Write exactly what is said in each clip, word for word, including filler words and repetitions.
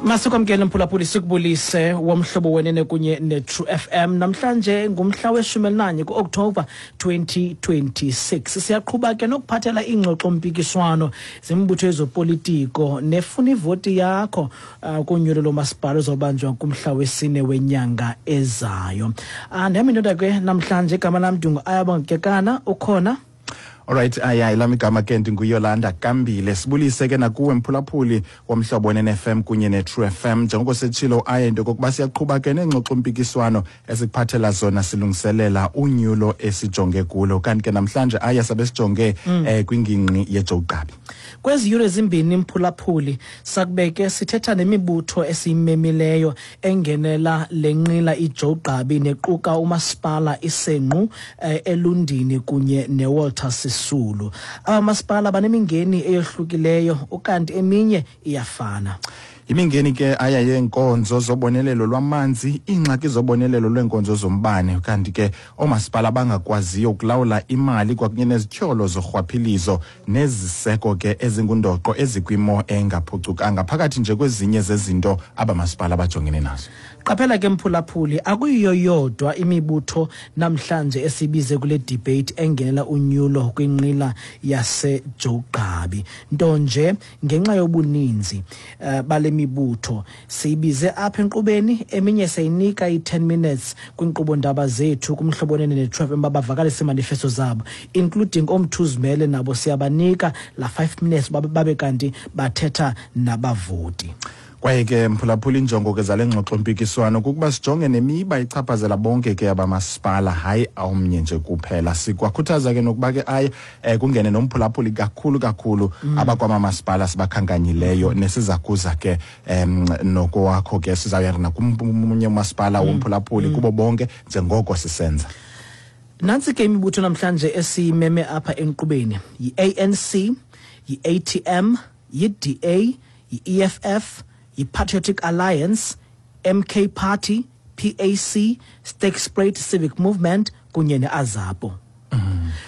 Masikwamkele mphulaphuli, sikubulise womhlobo wenene kunye ne-True F M. Namhlanje ngumhla weshumi elinanye ku-Oktoba twenty twenty-six. Siyaqhuba ke nokuphathela iingxoxo-mpikiswano zemibutho yezopolitiko nefuna ivoti yakho uh, kunyulo lomasipala ozobanjwa kumhla wesine wenyanga ezayo. uh, Ndihamba indoda ke namhlanje, igama lam ndingu-Ayabonga Kekana, ukhona. Alright, aya, elami igama ke ndinguYolanda Kambile. Sibulise ke nakuwe mphulaphuli womhlobo wen F M kunye ne-True F M. Njengoko setshilo aye into kokuba siyaqhuba ke neengxoxo-mpikiswano esikuphathela zona silungiselela unyulo esijonge kulo. Kanti ke namhlanje aya sabe sijonge mm. eh, kwingingqi yeJoe Gqabi. Kwezi yure zimbini, mphulaphuli, sakube ke sithetha nemibutho esiyimemileyo engenela le nqila iJoe Gqabi, nequka umasipala iSenqu, eh, Elundini kunye neWalter Sisulu. Aba masipala banemingeni eyohlukileyo, ukanti eminye iyafana. Imingeni ke aya yeenkonzo zobonelelo lwamanzi, iingxaki zobonelelo lweenkonzo zombane, kanti ke oomasipala bangakwaziyo ukulawula imali, kwakunye nezityholo zorhwaphilizo, neziseko ke ezingundoqo ezikwimo engaphucukanga, phakathi nje kwezinye zezinto abamasipala bajongene nazo. Qaphela ke mphulaphuli, akuyiyo yodwa imibutho namhlanje esibize kule debate engenela unyulo kwinqila yaseJoe Gqabi. Nto nje ngenxa yobuninzi uh, bale mibutho siyibize apha enkqubeni, eminye seyinika i-ten minutes kwinkqubo ndaba zethu kumhlobo wenene ne-True F M bavakalise imanifesto zabo, including omthuzimele, nabo siyabanika la five minutes babe, babe kanti bathetha nabavoti. Kwaye ke mphulaphula, injongo ke zale ngxoxo-mpikiswano kukuba sijonge nemiba ichaphazela bonke ke abamasipala, hayi omnye nje kuphela. Sikwakhuthaza ke nokuba ke aye eh, kungene nomphulaphuli, kakhulu kakhulu mm. abakwamamasipala sibakhankanyileyo, nesiza kuza ke em nokowakho ke sizawuya nakumunye umasipala mm. womphulaphuli mm. kubo bonke njengoko sisenza. Nantsi ke imibutho namhlanje esiyimeme apha enkqubeni: yi-A N C, yi-A T M, yi-D A, yi-E F F, yi-Patriotic Alliance, M K Party, P A C, Sterkspruit Civic Movement kunye ne-AZAPO.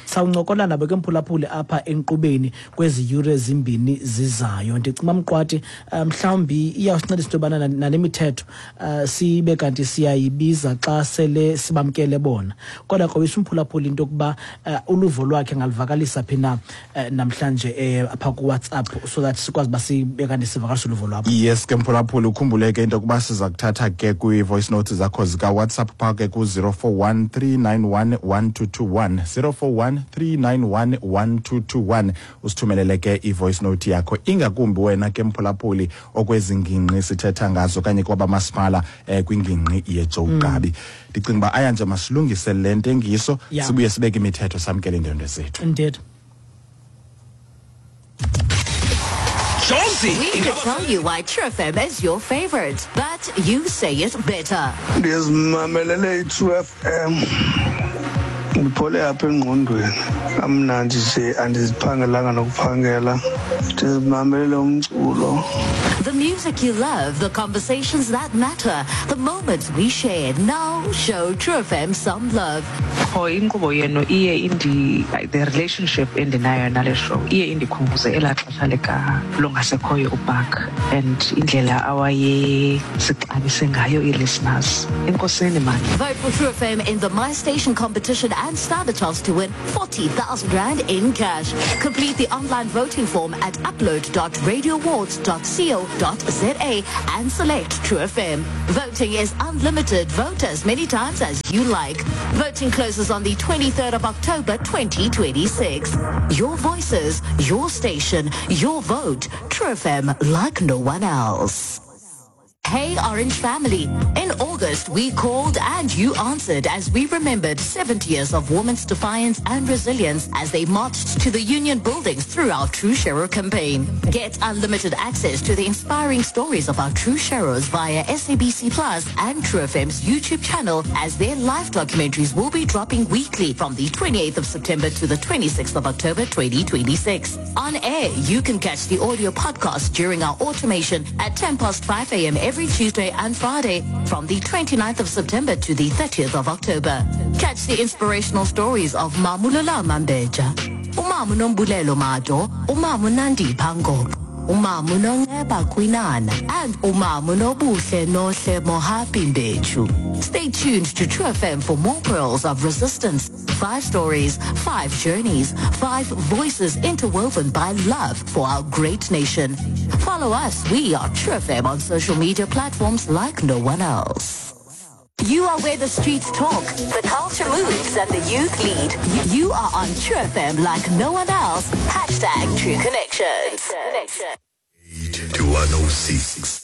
Sawuncokola nabo ke mphulaphuli apha enkqubeni kwezi yure zimbini zizayo. Ndicinga mqwathi mhlawumbi iyawusincedisa into yobana nale mithetho uh, sibe kanti siyayibiza xa sele sibamkele bona, kodwa krobisa umphulaphuli into yokuba uh, uluvo lwakhe ngalivakalisa phi na uh, namhlanje uh, apha kuWhatsApp, so that sikwazi uba sibe kanti sivakalisa uluvo lwabo. Yes ke mphulaphuli, ukhumbule ke into yokuba siza kuthatha ke kwii-voice notes zakho zikaWhatsApp phaa ke ku-zero four one three nine one one two two one, zero four one three nine one one two two one. Usithumelele ke i-voice note yakho, ingakumbi wena ke mphulaphuli okwezi ngingqi sithetha ngazo okanye kwabamasipala eh, kwingingqi yeJoe Gqabi. Ndicinga uba aya nje masilungise le ntengiso, Yeah. sibuye sibeke imithetho, samkele iindwendwe zethu. Indeed. Jonesy. We could tell you why True F M is your favorite, but you say it better. Ndizimamelele i-True F M, ndiphole apha engqondweni, kamnandi nje, andiziphangelanga nokuphangela, ndizimamelele umculo. The music you love, the conversations that matter, the moments we share. Now show True F M some love. Qho inkqubo yenu iye indi the relationship endinayo nale show iye indikhumbuze elaa xesha lika longasekhoyo uBark and indlela awayesixabise ngayo ii-listeners. Enkosini mani. Vote for True F M in the My Station competition and stand a chance to win forty thousand rand in cash. Complete the online voting form at upload dot radioawards dot co dot za and select True F M. Voting is unlimited. Vote as many times as you like. Voting closes on the twenty-third of October twenty twenty-six. Your voices, your station, your vote. True F M, like no one else. Hey Orange family. In August, we called and you answered as we remembered seventy years of women's defiance and resilience as they marched to the union buildings through our True Sharer campaign. Get unlimited access to the inspiring stories of our True Sharers via S A B C Plus and True F M's YouTube channel, as their live documentaries will be dropping weekly from the twenty-eighth of September to the twenty-sixth of October twenty twenty-six. On air, you can catch the audio podcast during our automation at ten past five a m every Tuesday and Friday from the twenty-ninth of September to the thirtieth of October. Catch the inspirational stories of Mamulola Mambeja, Umamu Nombulelo Mado, Umamu Nandi Pango, Umamu Nonceba Kwinana, and Umamu Nobuhle Nohle Mohapi Mbechu. Stay tuned to True F M for more pearls of resistance. Five stories, five journeys, five voices interwoven by love for our great nation. Follow us. We are True F M on social media platforms like no one else. You are where the streets talk, the culture moves, and the youth lead. You are on True F M like no one else. Hashtag True Connections. eight to one oh six.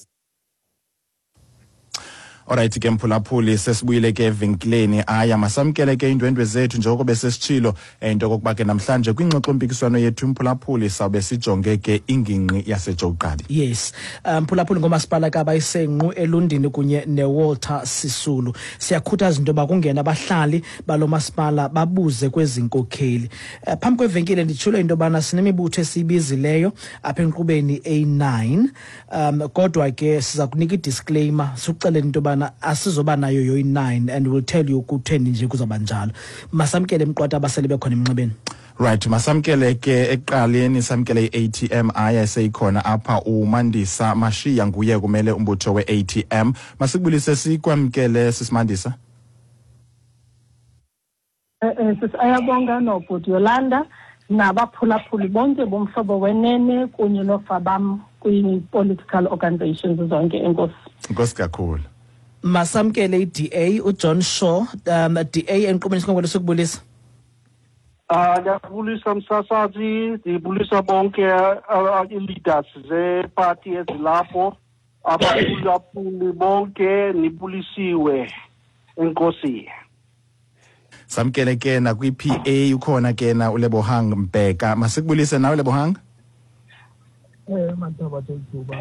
Alright ke mphulaphuli, sesibuyile ke evenkileni. Aya, masamkele ke iindwendwe zethu njengoko besesitshilo into okokuba ke namhlanje kwingxoxo-mpikiswano yethu mphulaphuli sawube sijonge ke ingingqi yaseJoe Gqabi. Yes, mphulaphuli, ngomasipala kabayisenqu Elundini kunye neWalter Sisulu. Siyakhuthaza into yoba kungena abahlali balo masipala babuze kwezi nkokheli. Phambi kwevenkile nditshilo into yobana sinemibutho esiyibizileyo apha enkqubeni A nine, um kodwa ke siza kunika i-disclaimer sikuxelele into yoba asizoba nayo yoyi nine, and we'll tell you kutheni nje kuzawuba njalo. Masamkele mqwata abasele bekhona emnxebeni. Right, masamkele ke ekuqaleni, samkele i-A T M aya seyikhona apha uMandisa Mashiya, nguye kumele umbutho we-A T M. Masikubulise sikwamkele sisimandisa. Eh eh sisayabonga nobhuti Yolanda nabaphulaphuli bonke bomhlobo wenene kunye nofabam kwi-political organizations zonke. Enkosi. Enkosi kakhulu. Masamkele i-D A uJohn Shaw, um D A enkqubeni sikhongolo sokubulisa. Ah, ndiyabulisa msasazi, ndibulisa bonke i-leaders zeparty ezilapho, abaphulaphuli bonke nibulisiwe. Enkosi. Samkele ke na kwi-P A ukhona ke na uLebohang Mbheka. Masikubulise nawe Lebohang. Eh mantaba thethuba.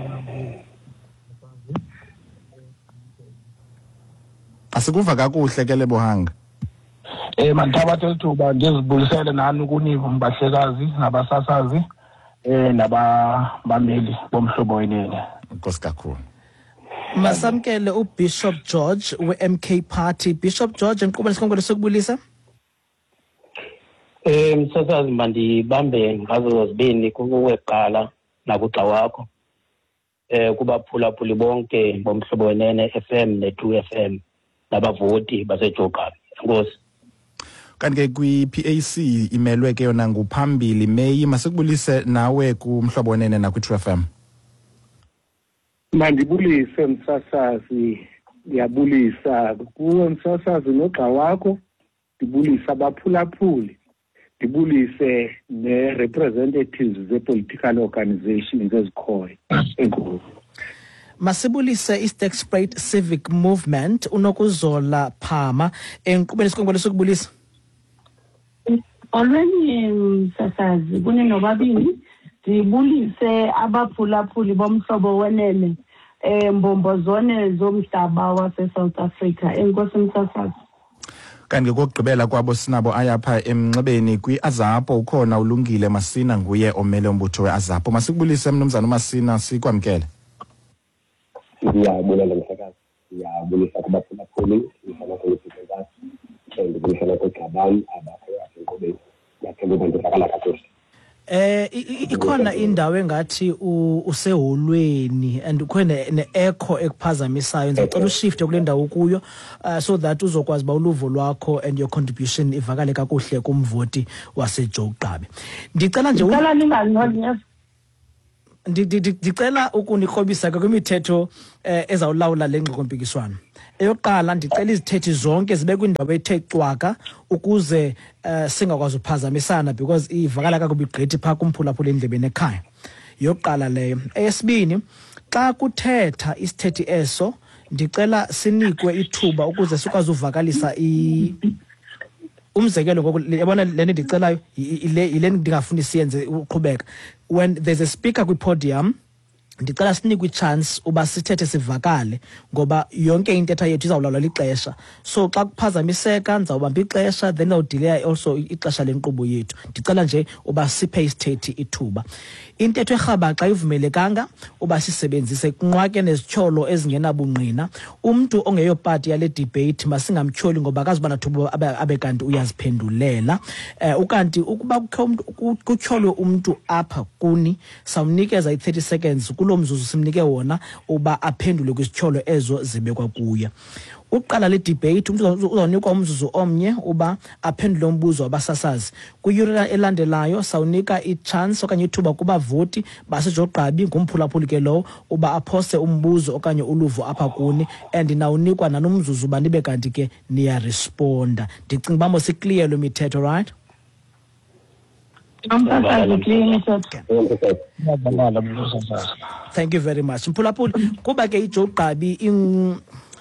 Asikuva kakuhle ke Lebohang. Eh mantaba thethuba ndizibulisele nani kunivo mbahlekazi nabasasazi eh nabameli bomhlobo wenene. Enkosi kakhulu. Masamkele uBishop George we-M K Party. Bishop George, enkqubeni sikhongolo sokubulisa. Eh msasazi, mandibambe ngazo zozibini kuwe kuqala nakugxa wakho. Eh kubaphulaphuli bonke bomhlobo wenene F M ne-True F M nabavoti baseJoe Gqabi. Enkosi. Kanti ke kwi-P A C imelwe ke yona nguphambili Meyi. Masikubulise nawe kumhlobo wenene nakwi-True F M. Mandibulise msasazi, ndiyabulisa kuwe msasazi nogxa wakho, ndibulise abaphulaphuli, ndibulise ne-representatives ze-political organizations ezikhoyo. Enkosi. Masibulise i-Sterkspruit Civic Movement uNokuzola Phama enkqubeni sikhongolo sokubulisa. Molweni msasazi kuni nobabini, ndibulise abaphulaphuli bomhlobo wenene eh mbombozone zomhlaba wase South Africa. Enkosi msasazi. Kanti kokugqibela kwabo sinabo ayapha emnxebeni kwi-AZAPO ukhona uLungile Masina, nguye omele umbutho we-AZAPO. Masikubulise mnumzana uMasina, sikwamkele. Ndiyabulela mhlekazi, ndiyabulisa kubaphulaphuli, ndibulisa nakugxa bam abakhoyo apha enkqubeni. Ndiyathemba uba ndivakala kakuhle. Eh ikhona indawo engathi useholweni and ukhona ne-echo ekuphazamisayo. Ndicela ushifte kule ndawo kuyo uh, so that uzokwazi ba uluvo lwakho and your contribution ivakale kakuhle kumvoti waseJoe Gqabi. Ndicela nje ndicela ninganqoli ndicela ukunikrobisa ke kwimithetho ezawulawula le ngxoxo-mpikiswano. Eyokuqala, ndicela izithethi zonke zibe kwindawo ethe cwaka ukuze uh, singakwazi uphazamisana because ivakala kakubi gqithi phaa kumphulaphula endlebeni ekhaya. Yokuqala leyo. Eyesibini, xa kuthetha isithethi eso ndicela sinikwe ithuba ukuze sikwazi uvakalisa i umzekelo ngoku yabona le nto ndicelayo ile ile ndingafuni siyenze uqhubeka. When there's a speaker kwi-podium, Ndicela sinikwe i-chance uba sithethe sivakale, ngoba yonke intetha yethu izawulawulwa lixesha. So xa kuphazamiseka ndizawubamba ixesha, then ndizawudileya also ixesha lenkqubo yethu. Ndicela nje uba siphe isithethi ithuba. Intetho erhabaxa ivumelekanga uba sisebenzise, kunqwake nezityholo ezingenabungqina. Umntu ongeyopati yale debate masingamtyholi ngoba akazuba nathuba abe, abe kanti uyaziphendulela. Eh, ukanti ukuba kukho umntu, kutyholwe umntu apha kuni, sawunikeza i-thirty seconds kulo mzuzu simnike wona uba aphendule kwizityholo ezo zibekwa kuye. Uqala le debate, umntu uzawunikwa umzuzu omnye uba aphendule umbuzo wabasasazi. Kwiyure elandelayo sawunika i-chance okanye ithuba kubavoti baseJogqabi, ngumphulaphuli ke lowo, uba aphose umbuzo okanye uluvo apha kuni, and nawunikwa nanomzuzu uba nibe kanti ke niyaresponda. Ndicinga uba mosiclear lo mithetho, right? Thank you very much. Mphulaphuli, kuba ke iJogqabi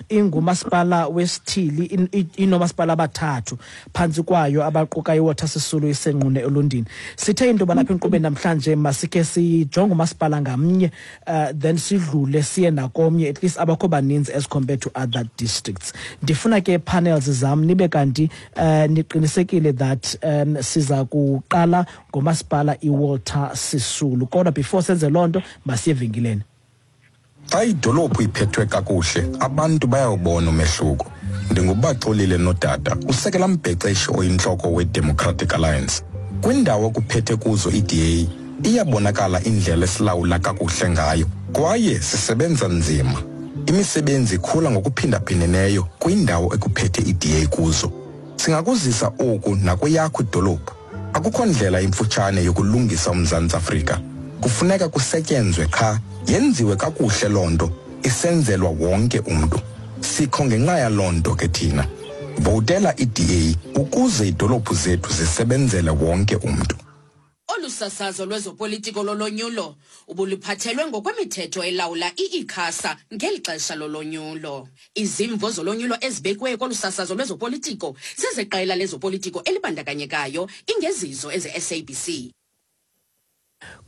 ingumasipala wesithili, inomasipala abathathu phantsi kwayo abaquka iWalter Sisulu, iseNqune, eLundini. Sithe into yoba lapha enkqubeni namhlanje masikhe sijonge umasipala ngamnye, uh, then sidlule siye nakomnye, at least abakho baninzi as compared to other districts. Ndifuna ke panels zam nibe kanti uh, niqinisekile that um, siza kuqala ngomasipala iWalter Sisulu. Kodwa before senze loo nto, masiye evenkileni. Xa idolophu iphethwe kakuhle, abantu bayawubona umehluko. Ndingubaxolile Nodada, usekela mbhexeshi oyintloko weDemocratic Alliance. Kwindawo ekuphethe kuzo i-D A, iyabonakala indlela esilawula kakuhle ngayo, kwaye sisebenza nzima. Imisebenzi ikhula ngokuphindaphindeneyo kwindawo ekuphethe i-D A kuzo. Singakuzisa oku nakweyakho idolophu. Akukho ndlela imfutshane yokulungisa uMzantsi Afrika. Kufuneka kusetyenzwe qha, yenziwe kakuhle loo nto, isenzelwa wonke umntu. Sikho ngenxa yaloo nto ke thina. Votela i-D A ukuze iidolophu zethu zisebenzele wonke umntu. Olu sasazo lwezopolitiko lolonyulo ubuluphathelwe ngokwemithetho elawula i-ICASA ngeli xesha lolonyulo. Izimvo zolonyulo ezibekiweyo kolu sasazo lwezopolitiko zezeqela lezopolitiko elibandakanyekayo, ingezizo eze-S A B C.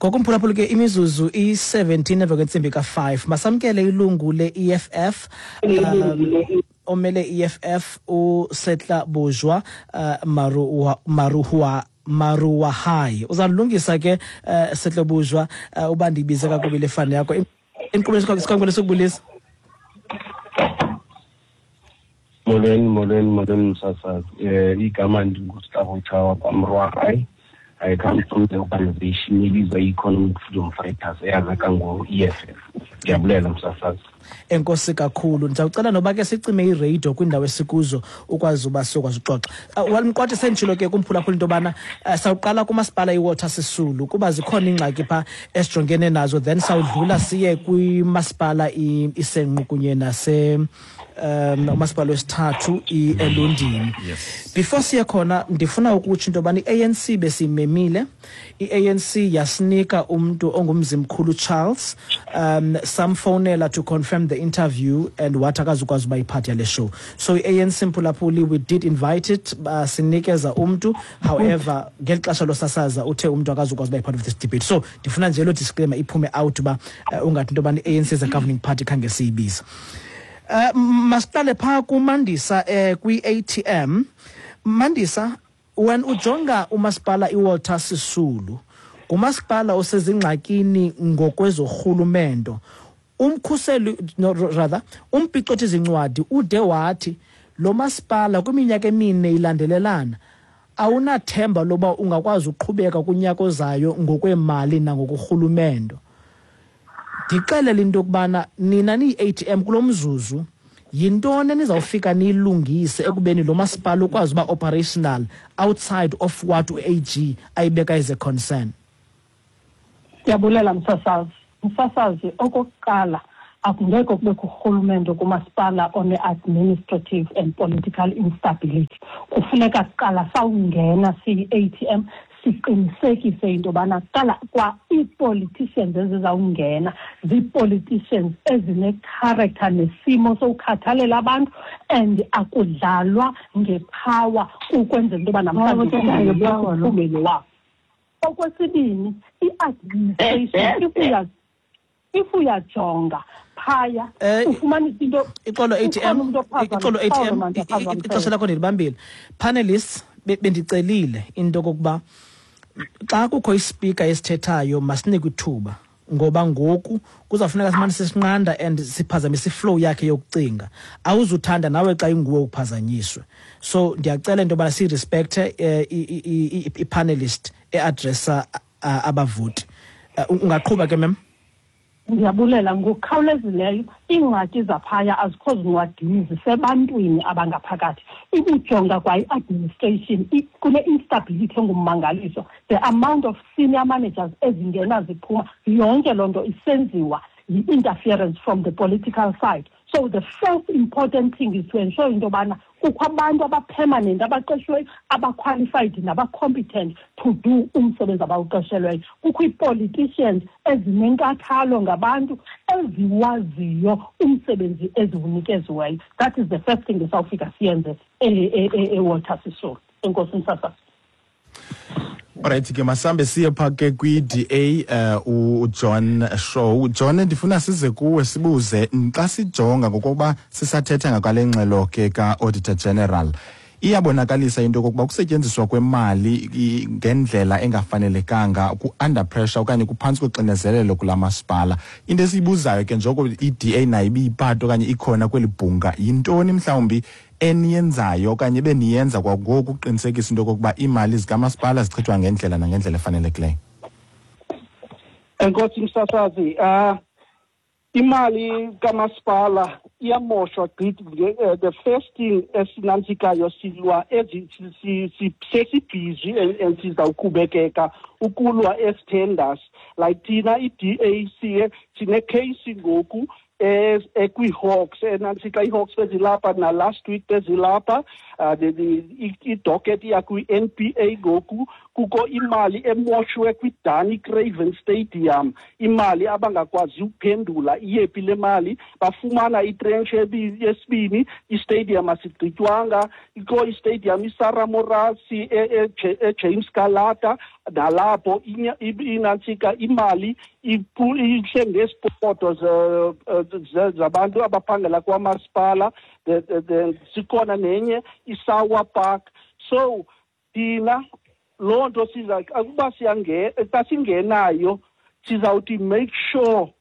Ngokumphulaphula ke imizuzu i-seventeen emva kwentsimbi ka-five. Masamkele ilungu le-E F F, um, omele E F F uSetla Bojwa uh, Maruwa, Maruwa Maruwahai. Uzalungisa ke uh, Setla Bojwa uh, uba ndiyibize kakubi le fani yakho. Inkqubo sikhangele sokubulisa. Molweni, molweni, molweni msasazi. Eh igama ndinguStavo kwaMruwahai. I come from the organization ebizwa Economic Freedom Fighters, eyazeka ngo-E F F. Ndiyabulela msasazi. Enkosi kakhulu. Ndizawucela noba ke sicime iradio kwindawo esikuzo ukwazi uba sokwazi uxoxa. Uh, Walmqwathi senditshilo ke kumphulaphula into yobana uh, sawuqala kumasipala iWalter Sisulu kuba zikhona iingxaki phaa esijongene nazo, then sawudlula siye kwimasipala iSenqu kunye nase um umasipala wesithathu iElundini. Yes. Before siye khona ndifuna ukutsho into yobana i-A N C besimemile. I-A N C yasinika umntu ongumzimkhulu Charles, um samfonela to confirm the interview and wathi akazukwazi uba yiphathi yale show. So i-A N C mphulaphuli, we did invite it, uh, sinikeza umntu, however ngeli xesha losasaza uthe umntu akazukwazi uba yipart of this debate. So ndifuna nje lo disclaimer iphume out uba uh, ungathi into yobana i-A N C is a governing party khange siyibiza. Uh, masiqale phaa kuMandisa eh, kwi-A T M. Mandisa, when ujonga umasipala iWalter Sisulu, ngumasipala osezingxakini ngokwezorhulumento, umkhuseli no, rather umphicothi zincwadi ude wathi lo masipala kwiminyaka emine ilandelelana awunathemba loba ungakwazi uqhubeka kunyaka ozayo ngokwemali nangokurhulumento. Ndixelele into yokubana nina niyi-A T M kulo mzuzu, yintoni enizawufika niyilungise ekubeni lo masipala ukwazi uba operational outside of what u-A G ayibeka as a concern? Ndiyabulela msasazi. Msasazi, okokuqala akungekho kubekho urhulumente kumasipala one-administrative and political instability. Kufuneka kuqala sawungena siyi-A T M siqinisekise into yobana kuqala kwa ii-politicians ezizawungena zii-politicians ezine-character nesimo sokukhathalela abantu, and akudlalwa ngepower ukwenzela into yoba namhlanje kuphume lo wabo. Okwesibini, i-administration, if we are If uyajonga phaya ufumanisa into ixolo A T M, ixolo A T M, ixesha lakho ndilibambile. Panelists, bendicelile into kokuba xa kukho ispeaker esithethayo masinikwe ithuba, ngoba ngoku kuzafuneka simane sisinqanda and siphazamise iflow yakhe yokucinga. Awuzuthanda nawe xa inguwe uphazanyiswe. So ndiyacela into yobana sirespecte i-panelist e-addressa abavoti. Ungaqhuba ke mem? Ndiyabulela. Ngokukhawulezileyo, iingxaki zaphaya azikho zincwadini, zisebantwini abangaphakathi. Ikujonga kwa i-administration kune-instability engummangaliso. The amount of senior managers ezingena ziphuma, yonke loo nto isenziwa yi-interference from the political side. So the first important thing is to ensure into yobana kukho abantu abapermanent, abaqeshiweyo, abaqualified nabacompetent to do umsebenzi abawuqeshelweyo. Kukho ii-politicians ezinenkathalo ngabantu eziwaziyo umsebenzi eziwunikeziweyo. That is the first thing esawufika siyenze eWalter Sisulu. Enkosi msasazi. Alright ke masambe siye pha ke kwi-D A uh, uJohn Shaw. John, ndifuna size kuwe sibuze xa sijonga ngokuba sisathetha ngakwale ngxelo ke ka-Auditor General, iyabonakalisa into yokokuba ukusetyenziswa kwemali ngendlela engafanelekanga ku-under pressure okanye kuphantsi koxinezelelo kula masipala. Into esiyibuzayo ke njoko i-D A nayo ibiyipati okanye ikhona kweli bhunga, yintoni mhlawumbi eniyenzayo okanye beniyenza kwangoku ukuqinisekisa into yokokuba iimali zikamasipala zichithwa ngendlela nangendlela efanelekileyo? Enkosi msasazi, uh, imali kamasipala iyamoshwa gqithi. The first thing esinantsikayo silwa sesibhizi and sizawuqhubekeka ukulwa ezi-tenders. Like thina i-D A siye sinekheyisi ngoku ekwi-Hawks, enantsika i-Hawks bezilapha na last week bezilapha, idocket iya kwi-N P A ngoku. Kukho imali emoshwe kwi-Danny Craven Stadium, imali abangakwazi ukuphendula iyephi le mali. Bafumana itrench yesibini, istadium asigqitywanga. Ikho istadium iSarah Morasi eJames Kalata, nalapho inantsika imali ihle ngezipoto zabantu abaphangela kwamasipala. Sikhona nenye iSawa Park. So thina loo nto siza ukuba siyangena, xa singenayo sizawuthi make sure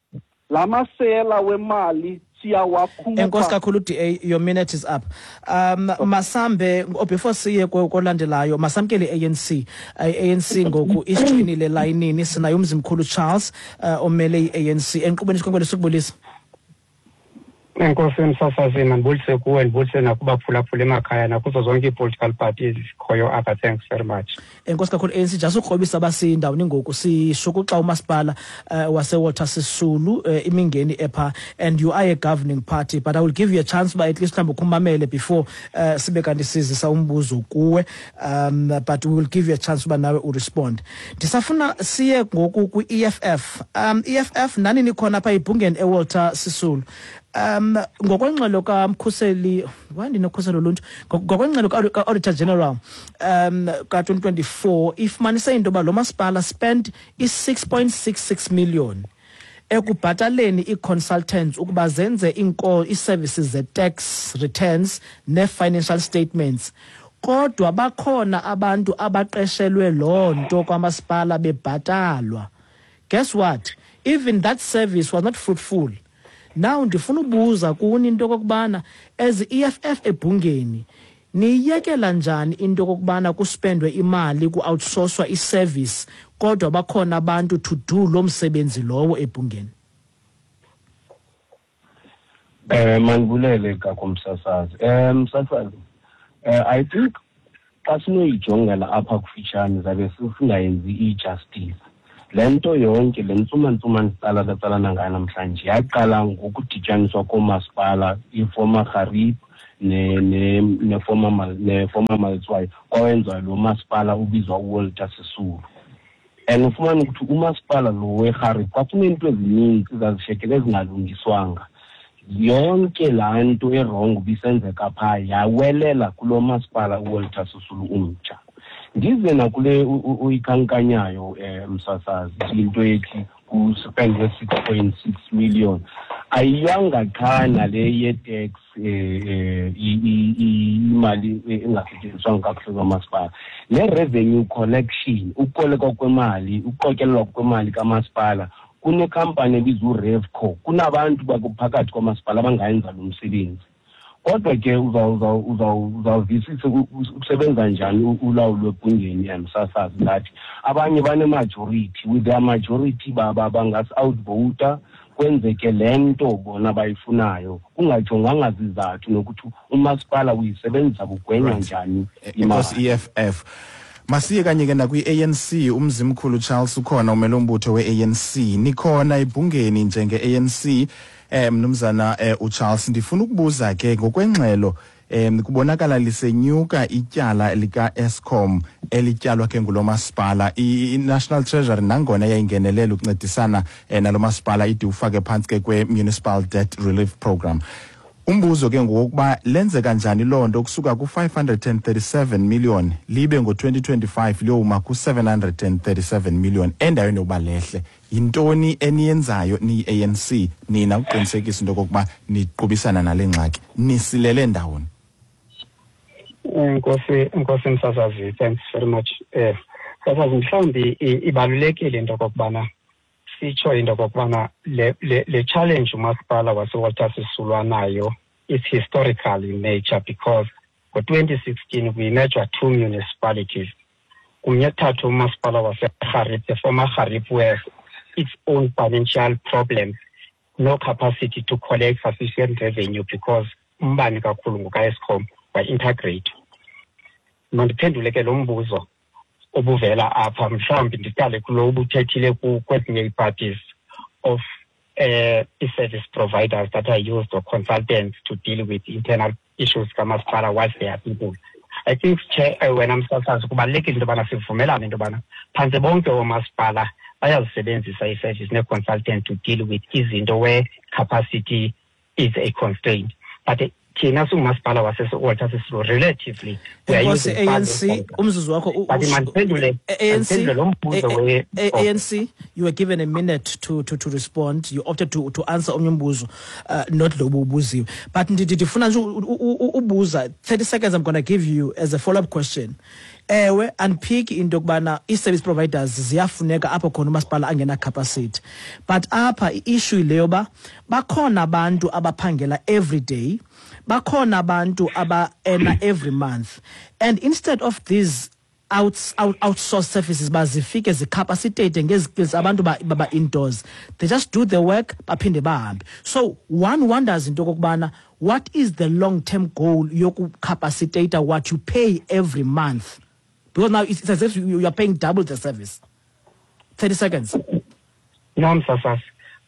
la masela wemali siyawakhupha. Enkosi kakhulu D A, your minute is up. Um masambe before siye kolandelayo, masamkele i-A N C. I-A N C ngoku isiqinile layinini, sinaye uMzimkhulu Charles uh, omele i-A N C. Enkqubeni isikhonkwane sokubulisa. Enkosi msasazi, mandibulise kuwe, ndibulise nakubaphulaphula emakhaya nakuzo zonke ii-political parties zikhoyo apha. Thanks very much. Enkosi kakhulu A N C. Just ukrobisa abasindawoni ngoku sishukuxa umasipala uh, waseWalter Sisulu uh, imingeni epha, and you are a governing party, but I will give you a chance uba at least mhlawumbi ukhumamele before uh, sibe kanti sizisa umbuzo kuwe, um, but we will give you a chance uba nawe urespond. Ndisafuna siye ngoku kwi-E F F. Um, E F F nani nikhona apha ebhungeni eWalter Sisulu. Um ngokwengxelo kaMkhuseli, why ndinokhuselo loluntu, ngokwengxelo ka-Auditor General um ka twenty twenty-four ifumanise into yoba lo masipala spent i-six point six six million ekubhataleni ii-consultants ukuba zenze ii-services ze-tax returns nee-financial statements. Kodwa bakhona abantu abaqeshelwe loo nto kwamasipala bebhatalwa. Guess what? Even that service was not fruitful. Now ndifuna ubuza kuni into okokubana as E F F ebhungeni niyekela njani into okokubana kuspendwe imali ku-outsourcwa i-service kodwa bakhona abantu to do lo msebenzi lowo ebhungeni? Eh mandibulele kakho msasazi. Eh msasazi, eh I think xa sinoyijongela apha kufitshane zabe singayenzi i-justice. Le nto yonke le ntsumantsuma nditsala tsalana ngayo namhlanje yaqala ngokudityaniswa koomasipala i-former Gariep ne-former ne-former Maletswai, kwawenziwa lo masipala ubizwa uWalter Sisulu. And ufumane ukuthi umasipala lo weGariep kwakuneento ezininzi ezazishekele ezingalungiswanga. Yonke laa nto erongo ibisenzeka phaa yawelela kulo masipala uWalter Sisulu umtsha. Ndize nakule uyikhankanyayo eh msasazi into ethi Kuspendwe six point six million. Ayiyanga qha nale ye-tax, eh imali engasetyenziswanga kakuhle kwamasipala. Le revenue collection, ukukolekwa kwemali, ukuqokelelwa kwemali kamasipala, kunekhampani ebizwa uRevco, kunabantu bakuphakathi kwamasipala abangayenza lo msebenzi. Kodwa ke uzawuvisisa usebenza njani ulawulo ebhungeni yamsasazi ngathi abanye bane-majority, with their majority bangasi-outvoter, kwenzeke le nto bona bayifunayo, kungajonganga zizathu nokuthi umasipala uyisebenzisa bugwenya njani imali. E F F. Masiye kanye ke nakwi-A N C, umzimkhulu Charles ukhona umele umbutho we-A N C. Nikhona ebhungeni njenge-A N C, eh mnumzana eh, uCharles, ndifuna ukubuza ke ngokwengxelo em kubonakala lisenyuka ityala lika Eskom elityalwa ke ngulo masipala. I-National Treasury nangona yayingenelela ukuncedisana eh, nalo masipala ide ufake phantsi ke kwe-Municipal Debt Relief Program. Umbuzo ke ngokuba lenze kanjani loo nto kusuka ku-five hundred and thirty-seven million libe ngo-twenty twenty-five liyowuma ku-seven hundred and thirty-seven million endaweni yokuba lehle. Yintoni eniyenzayo niyi-A N C nina ukuqinisekisa into yokokuba niqubisana nale ngxaki? Nisilele ndawoni? Enkosi, enkosi msasazi, thanks very much. Eh, msasazi, mhlawumbi ibalulekile into okokubana sitsho into okokubana le, le, le challenge umasipala waseWalter Sisulu anayo is historical in nature, because ngo-twenty sixteen we merged two municipalities. Kumnye kuthathwa umasipala waseGariep, the former Gariep, where its own financial problems, no capacity to collect sufficient revenue because umbane kakhulu ngoka-Eskom wa-integrate. Mandiphendule ke lo mbuzo obuvela apha, mhlawumbi ndiqale kulo ubuthethile kwezinye ii-parties of uh, service providers that are used or consultants to deal with internal issues kamasipala whilst they are people. I think, Chair, wena msasazi, kubalulekile into yobana sivumelane into yobana phantse bonke oomasipala bayazisebenzisa ii-service nee-consultant to deal with izinto where capacity is a constraint. But thina singumasipala waseWalter Sisulu relatively we are using A N C, umzuzu wakho, but mandiphendule lo mbuzo we A N C, you were given a minute to to to respond. You opted to to answer omnye umbuzo, uh, not lo ubuziwe. But ndifuna nje ubuza thirty seconds. I'm going to give you as a follow-up question. Ewe, unpick into yokubana ii-service providers ziyafuneka apho khona umasipala angena capacity. But apha i-issue leyo ba bakhona abantu abaphangela every day, bakhona abantu aba-earna every month. And instead of these out, out, outsourced services bazifike zicapacitate ngezi-skills abantu baba indoors, they just do the work baphinde bahambe. So one wonders into yokokubana what is the long-term goal yokucapacitate what you pay every month? Because now it's as if you are paying double the service. thirty seconds. No, Msasas.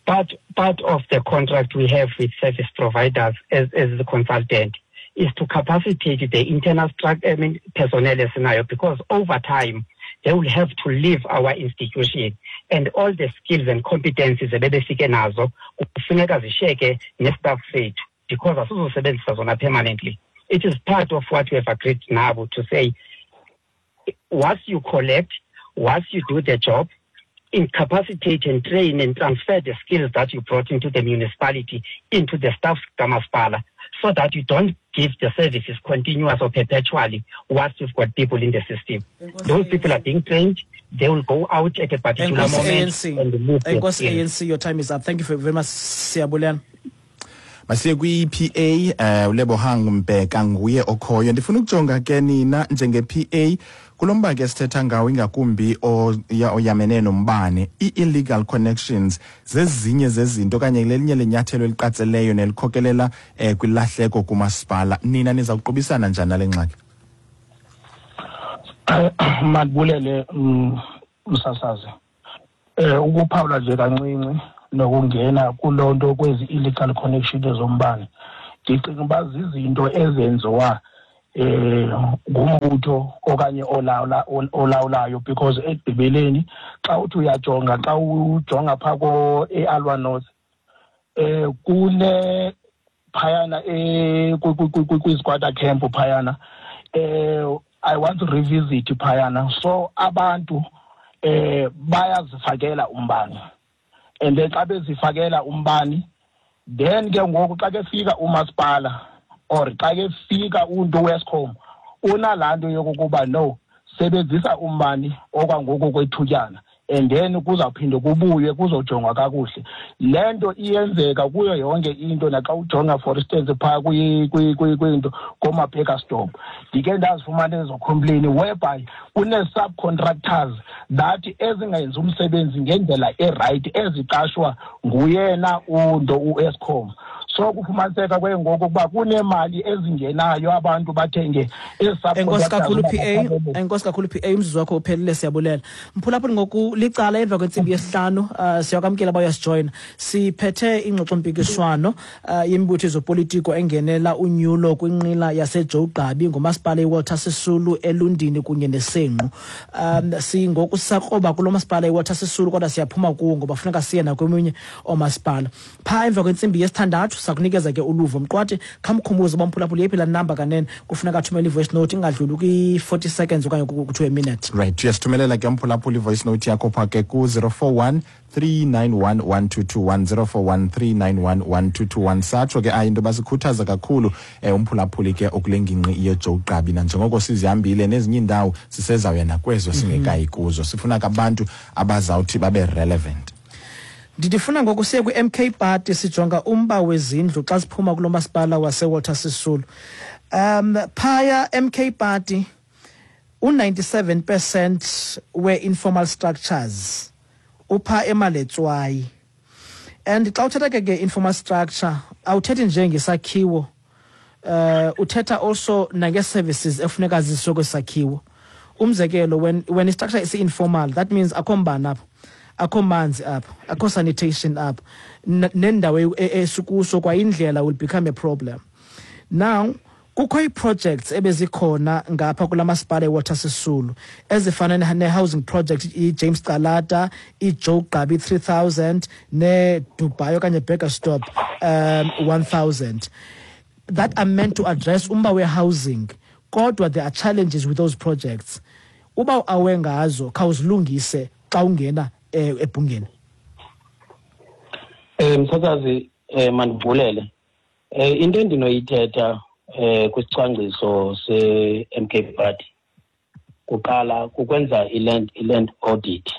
Part, part of the contract we have with service providers as, as the consultant is to capacitate the internal structure, I mean, personnel scenario, because over time they will have to leave our institution and all the skills and competencies ebebefike nazo kufuneka zishiyeke ne-staff sethu, because asizosebenzisa zona permanently. It is part of what we have agreed now to say, once you collect, once you do the job, incapacitate and train and transfer the skills that you brought into the municipality into the staff kamasipala, so that you don't give the services continuous or perpetually once you've got people in the system. Those people are being trained. They will go out at a particular moment A N C. And move their A N C, your time is up. Thank you very much, Siyabulela. Masiye kwi-E P A, eh uLebohang Mbeka nguye okhoyo. Ndifuna ukujonga ke nina njenge-P A kulo mba ke sithetha ngawo ingakumbi oyamene nombane, i-illegal connections zezinye zezinto okanye lelinye lenyathelo eliqatseleyo nelikhokelela eh, kwilahleko kumasipala. Nina niza kuqubisana njani nale ngxaki? Mandibulele msasazi. Eh ukuphawula nje kancinci nokungena kuloo nto kwezi illegal connections zombane, ndicinga uba zizinto ezenziwa eh ngumbutho okanye olawula olawulayo, because ekugqibeleni xa uthi uyajonga, xa ujonga phaa ko e-Alwa North eh kune phayana eh kwi-squatter camp phayana, eh I want to revisit phayana. So abantu eh bayazifakela umbane. And then xa bezifakela umbani, then ke ngoku xa kefika umasipala or xa kefika untu weEskom, unalaa nto yokokuba no, sebenzisa umbani okwangoku kwethutyana, and then kuzawuphinde kubuye kuzojongwa kakuhle. Le nto iyenzeka kuyo yonke into, naxa ujonga for instance phaa kwinto koomaBurgersdorp, ndike ndazifumana ezo complain whereby kune-subcontractors that ezingenzi umsebenzi ngendlela erayithi, eziqashwa nguyena unto uEskom. So kufumaniseka ke ngoku ukuba kunemali ezingenayo, abantu bathenge. Enkosi kakhulu P A, enkosi kakhulu P A, umzuzu wakho uphelile, siyabulela. Mphulaphuli, ngoku licala emva kwentsimbi yesihlanu, uh, siyakwamkela bayasijoyina. Siphethe ingxoxompikiswano uh, yemibutho yezopolitiko engenela unyulo kwinqila yaseJoe Gqabi ngumasipala iWalter Sisulu, eLundini kunye neSenqu. Um singoku sisakroba kulo masipala iWalter Sisulu, kodwa siyaphuma kuwo ngoba funeka siye nakweminye oomasipala. Phaa emva kwentsimbi yesithandathu sakunikeza ke uluvo. Mqwathi, khamkhumbuze uba mphulaphuli yeyiphi laa namba kanene kufuneka athumele i-voice note ingadluli kwi-forty seconds okanye kuthiwe a minute. Right, uyasithumelela ke mphulaphuli i-voice note yakho phaa ke ku-zero four one three nine one one two two one, zero four one three nine one one two two one. Satsho ke ayi into basikhuthaza kakhulu eh, umphulaphuli ke okule ngingqi yeJoe Gqabi, nanjengoko sizihambile nezinye iindawo, sisezawuya nakwezo singekayi kuzo. Sifuna ke abantu abazawuthi babe relevant. Ndifuna ngoku siye kwi-M K Party, sijonga umba wezindlu xa siphuma kulo masipala waseWalter Sisulu. Um phaya M K Party, u-ninety-seven percent we-informal structures upha eMaletswai. And xa uthetha ke nge-informal structure, awuthethi nje ngesakhiwo, uh uthetha also nange-services efuneka ziswe kwesakhiwo. Umzekelo, when when i-structure is informal, that means akho mbane apho, akho manzi apho, akho sanitation apho, nendawo esikuso kwayindlela will become a problem. Now kukho ii-projects ebezikhona ngapha kula masipala eWalter Sisulu ezifana ne-housing project i-James Calata, i-Joe Gqabi three thousand ne-Dubai okanye Burgersdorp um one thousand that are meant to address umba we-housing, kodwa there are challenges with those projects. Uba awe ngazo, khawuzilungise xa ungena eh, ebhungeni. Eh msakazi, eh mandivulele. Eh into endinoyithetha eh kwisicwangciso se-M K Party kuqala kukwenza i-land i-land audit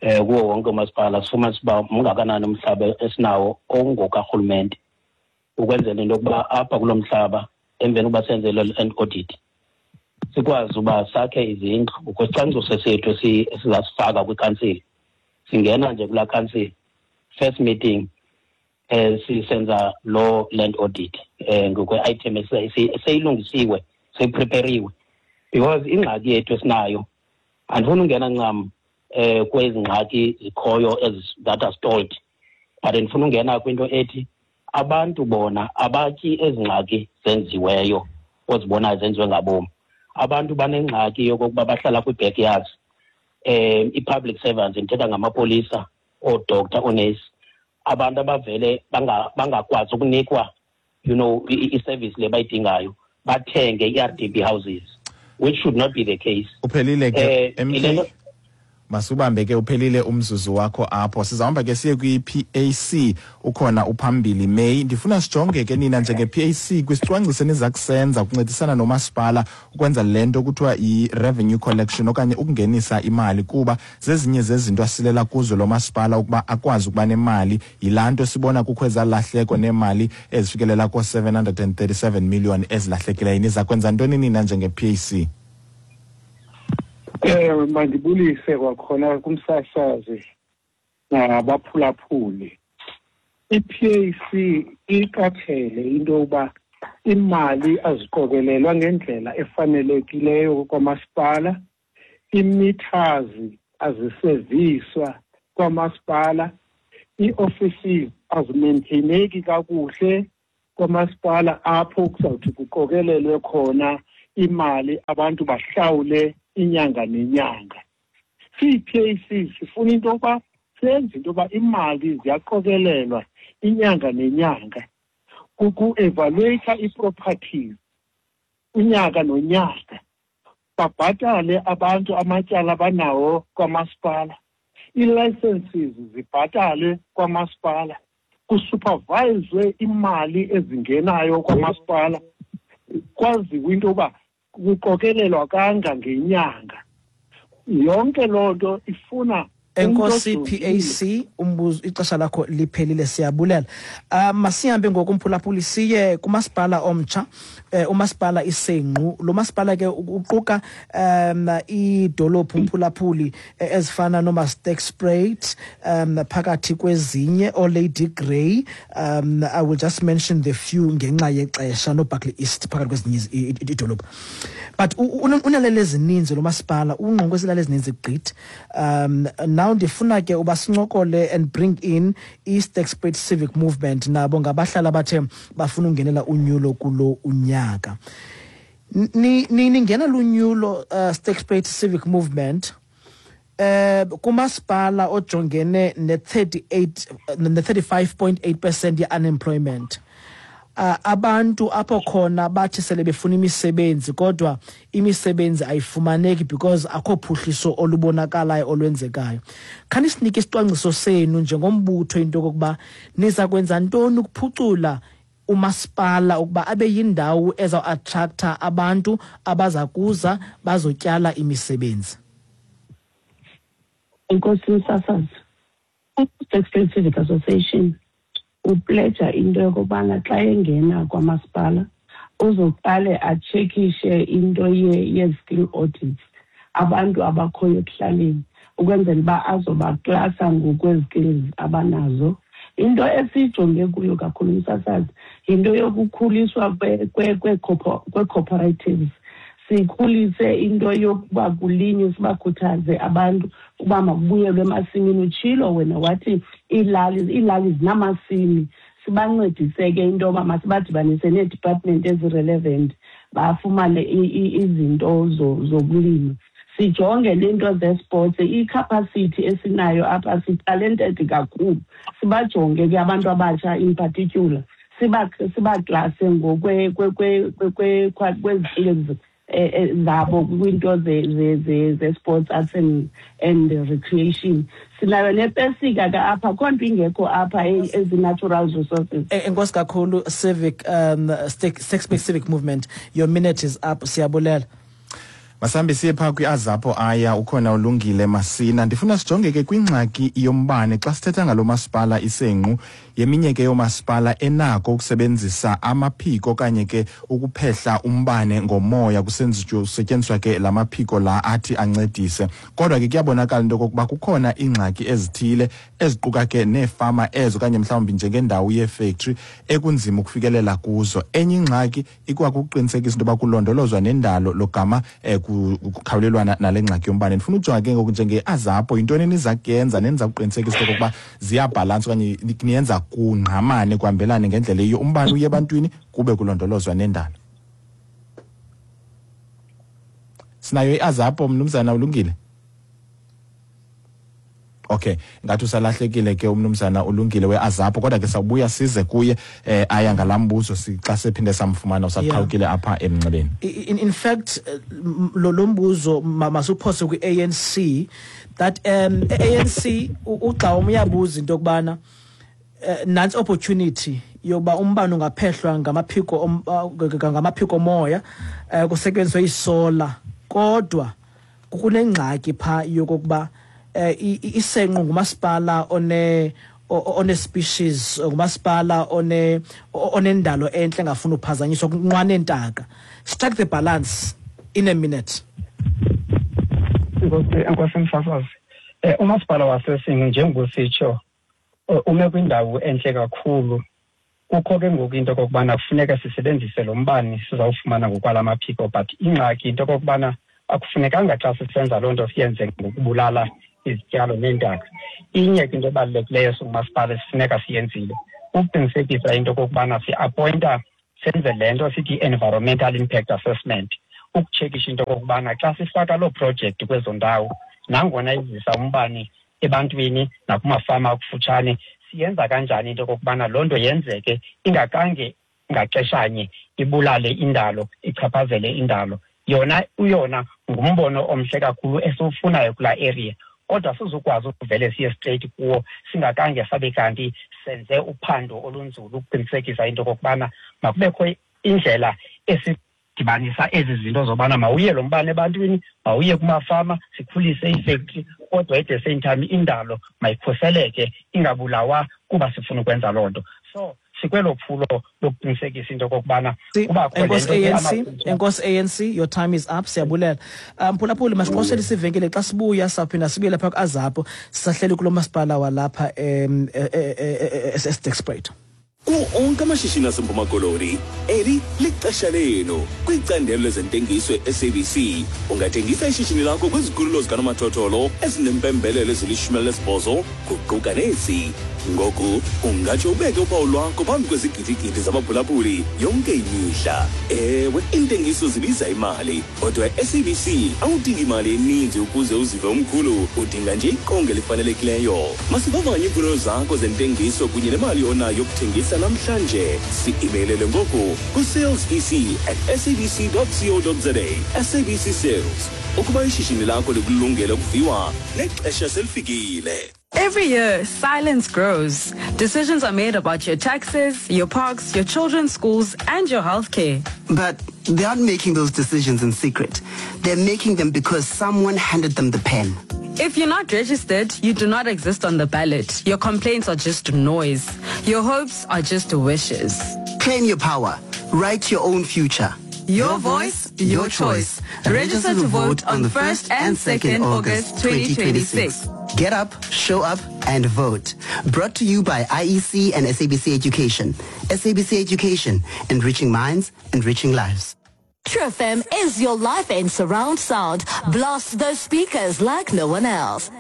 eh kuwo wonke umasipala, sifumanise uba mngakanani umhlaba esinawo ongokarhulumente, ukwenzela into yokuba apha kulo mhlaba, emveni kokuba senze le land audit, sikwazi uba sakhe izindlu ngokwesicwangciso sethu esizasifaka kwikansile. Singena nje kulaa kansile, first meeting eh sisenza lo land audit eh ngokwe-item eseyilungisiwe, seyiprepariwe, because ingxaki yethu esinayo, andifuni ungena ncam eh kwezi ngxaki zikhoyo that are stalled, but ndifuna ungena kwinto ethi abantu bona abatyi ezi ngxaki zenziweyo ozibonayo zenziwe ngabomi. Abantu banengxaki yokokuba bahlala kwii-backyards, eh i-public servants, ndithetha ngamapolisa, oodoctor, oonesi, abantu abavele bangakwazi ukunikwa you know i-service le bayidingayo, bathenge i-R D P houses, which should not be the case. Uphelile ke, M K, masubambe ke, uphelile umzuzu wakho apho. Sizahamba ke siye kwi-P A C, ukhona uphambili May. Ndifuna sijonge ke nina njenge-P A C kwisicwangciso eniza kusenza ukuncedisana nomasipala ukwenza le nto kuthiwa i-revenue collection okanye ukungenisa imali, kuba zezinye zezinto asilela kuzo lo masipala ukuba akwazi ukuba nemali. Yilaa nto sibona kukho ezalahleko neemali ezifikelela koo-seven hundred and thirty-seven million ezilahlekileyo. Niza kwenza ntoni nina njenge-P A C? Eh mandibulise kwakhona kumsasazi nabaphulaphuli. I-P A C iqaphele into yokuba imali aziqokelelwa ngendlela efanelekileyo kwamasipala, ii-meters aziseviswa kwamasipala, ii-offices azimaintaineki kakuhle kwamasipala apho kuzawuthi kuqokelelwe khona imali, abantu bahlawule inyanga nenyanga. Siyi-P A C sifuna into yokuba senze into yoba imali ziyaqokelelwa inyanga nenyanga, kuku-evaluate ii-properties unyaka nonyaka, babhatale abantu amatyala abanawo kwamasipala. ii-licenses zibhatalwe kwamasipala, kusuperviswe imali ezingenayo kwamasipala, kwaziwe into yoba kuqokelelwa kanga ngenyanga. Yonke loo nto ifuna. Enkosi P A C, umbuzo ixesha lakho liphelile, siyabulela. Uh, masihambe ngoku umphulaphuli siye kumasipala omtsha, eh, umasipala iSenqu. Lo masipala ke uquka um iidolophu umphulaphuli ezifana noMasterspruit, um phakathi kwezinye oLady Grey. Um I will just mention the few ngenxa yexesha, noBarkley East phakathi kwezinye iidolophu. But unalele ezininzi lo masipala, ungqongwe zilale ezininzi gqithi. Um now ndifuna ke uba sincokole and bring in iSterkspruit Civic Movement, nabo ngabahlali abathe bafuna ungenela unyulo kulo unyaka. Ni ningena lunyulo uh, Sterkspruit Civic Movement eh kumasipala ojongene ne thirty-eight ne thirty-five point eight percent ye unemployment. Uh, abantu apho khona bathi sele befuna imisebenzi kodwa imisebenzi ayifumaneki because akho phuhliso olubonakalayo olwenzekayo. Khani sinike isicwangciso senu njengombutho into yokuba niza kwenza ntoni ukuphucula umasipala ukuba abe yindawo eza attracta abantu abaza kuza bazotyala imisebenzi. Enkosi msasazi, uSterkspruit Civic Association upledge into yokubana xa engena kwamasipala uzoqale achekishe into ye-skill audits, abantu abakhoyo ekuhlaleni, ukwenzela uba azobaklasa ngokwezi-skills abanazo. Into esijonge kuyo kakhulu umsasazi yinto yokukhuliswa kwe-cooperatives, sikhulise into yokuba kulinywe, sibakhuthaze abantu uba makubuyelwe emasimini. Utshilo wena wathi iilali iilali zinamasimi, sibancedise ke into yoba masibadibanise nee-department ezi-relevant bafumane izinto zokulima. Sijonge nento ze-sports, i-capacity esinayo apha, si-talented kakhulu, sibajonge ke abantu abatsha in particular, sibaklase ngokwezi-skills zabo kwinto ze-sports, arts and, and recreation. Sinayo nepesika ke apha, khonto ingekho apha ezi-natural resources. Enkosi kakhulu Civic um Sterkspruit Civic Movement, your minute is up, siyabulela. Masambe siye phaa kwi-AZAPO aya ukhona uLungile Masina. Ndifuna sijonge ke kwingxaki yombane xa sithetha ngalo masipala iSenqu, yeminye ke yomasipala enako ukusebenzisa amaphiko okanye ke ukuphehla umbane ngomoya, kusetyenziswa ke la maphiko la athi ancedise. Kodwa ke kuyabonakala into yokokuba kukhona iingxaki ezithile eziquka ke neefama ezo okanye mhlawumbi njengendawo yefactory ekunzima ukufikelela kuzo. Enye ingxaki ikwakuqinisekisa into yoba kulondolozwa nendalo logama eh, kukhawulelwana nale ngxaki yombane. Ndifuna ujonga ke ngoku njenge-AZAPO, yintoni eniza kuyenza neniza kuqinisekisa into yokokuba ziyabhalansa okanye niyenza kungqamane kuhambelane ngendlela eyiyo, umbane uye ebantwini kube kulondolozwa nendalo? Sinayo i-AZAPO, mnumzana uLungile? Okay, ngathi usalahlekile ke umnumzana uLungile we-AZAPO, kodwa ke sawubuya size kuye eh, aya ngalambuzo xa sephinde samfumana usaqhawukile apha emnxebeni. In, in fact, lo lombuzo masuphose kwi-A N C that um A N C ugxa uyabuza into yokubana uh, nansi opportunity yokuba umbane ungaphehlwa ngamaphiko ngamaphiko moya uh, kusetyenziswe isolar, kodwa kunengxaki pha yokokuba iSenqu ngumasipala one one species, ngumasipala one onendalo enhle engafuni uphazanyiswa kunqwane entaka. Strike the balance in a minute. Enkosi msasazi, umasipala waseSenqu njengositsho ume kwindawo enhle kakhulu. Kukho ke ngoku into okokubana kufuneka sisebenzise lo mbane sizawufumana ngokwala maphiko, but ingxaki into okokubana akufunekanga xa sisenza loo nto siyenze ngokubulala izityalo neentaka. Inye ke into ebalulekileyo singumasipala esifuneka siyenzile ukuqinisekisa into okokubana si-appointa, senze le nto sithi i-environmental impact assessment, ukutshekisha into okokubana xa sifaka loo project kwezo ndawo, nangona izisa umbane ebantwini nakumafama akufutshane, siyenza kanjani into okokubana loo nto yenzeke ingakange ngaxeshanye ibulale indalo, ichaphazele indalo. Yona uyona ngumbono omhle kakhulu esiwufunayo kulaa area, Kodwa sizokwazi ukuvele siye straight kuwo singakange sabe kanti senze uphando olunzulu ukuqinisekisa into okokubana makubekho indlela esidibanisa ezi zinto zobana mawuye lo mbane ebantwini, mawuye kumafama, sikhulise iifektri, kodwa at the same time indalo mayikhuseleke ingabulawa kuba sifuna ukwenza loo nto. So sikwelo phulo lokuqinisekisa into okokubana kubakho Enkosi A N C, enkosi A N C, your time is up. Siyabulela. Mphulaphuli, masiqosele isivenkile. Xa sibuya sawuphinda sibuye lapha ku-AZAPO, sisahleli kulo masipala walapha em eSterkspruit. Kuwo onke amashishini aseMpuma Koloni, eli lixesha lenu kwicandelo lezentengiso e-S A B C. Ungathengisa ishishini lakho kwizikhululo zikanomathotholo ezinempembelelo ezilishumi elinesibhozo, kuquka nezi. Ngoku ungatsho ubeke uphawu lwakho phambi kwezigidigidi zabaphulaphuli yonke imihla. Ewe, iintengiso zibiza imali, kodwa e-S A B C awudingi imali eninzi ukuze uzive umkhulu, udinga nje iqonga elifanelekileyo. Masivavanye iimfuno zakho zentengiso kunye nemali onayo yokuthengisa namhlanje. Si-imeylele ngoku ku-sales E C at sabc co za. S A B C Sales, ukuba ishishini lakho likulungele ukuviwa, nexesha selifikile. Every year, silence grows. Decisions are made about your taxes, your parks, your children's schools, and your healthcare. But they aren't making those decisions in secret. They're making them because someone handed them the pen. If you're not registered, you do not exist on the ballot. Your complaints are just noise. Your hopes are just wishes. Claim your power. Write your own future. Your voice, your choice. Register to vote on the first and second August twenty twenty-six. Get up, show up, and vote. Brought to you by I E C and S A B C Education. S A B C Education, enriching minds, enriching lives. True F M is your life in surround sound. Blast those speakers like no one else.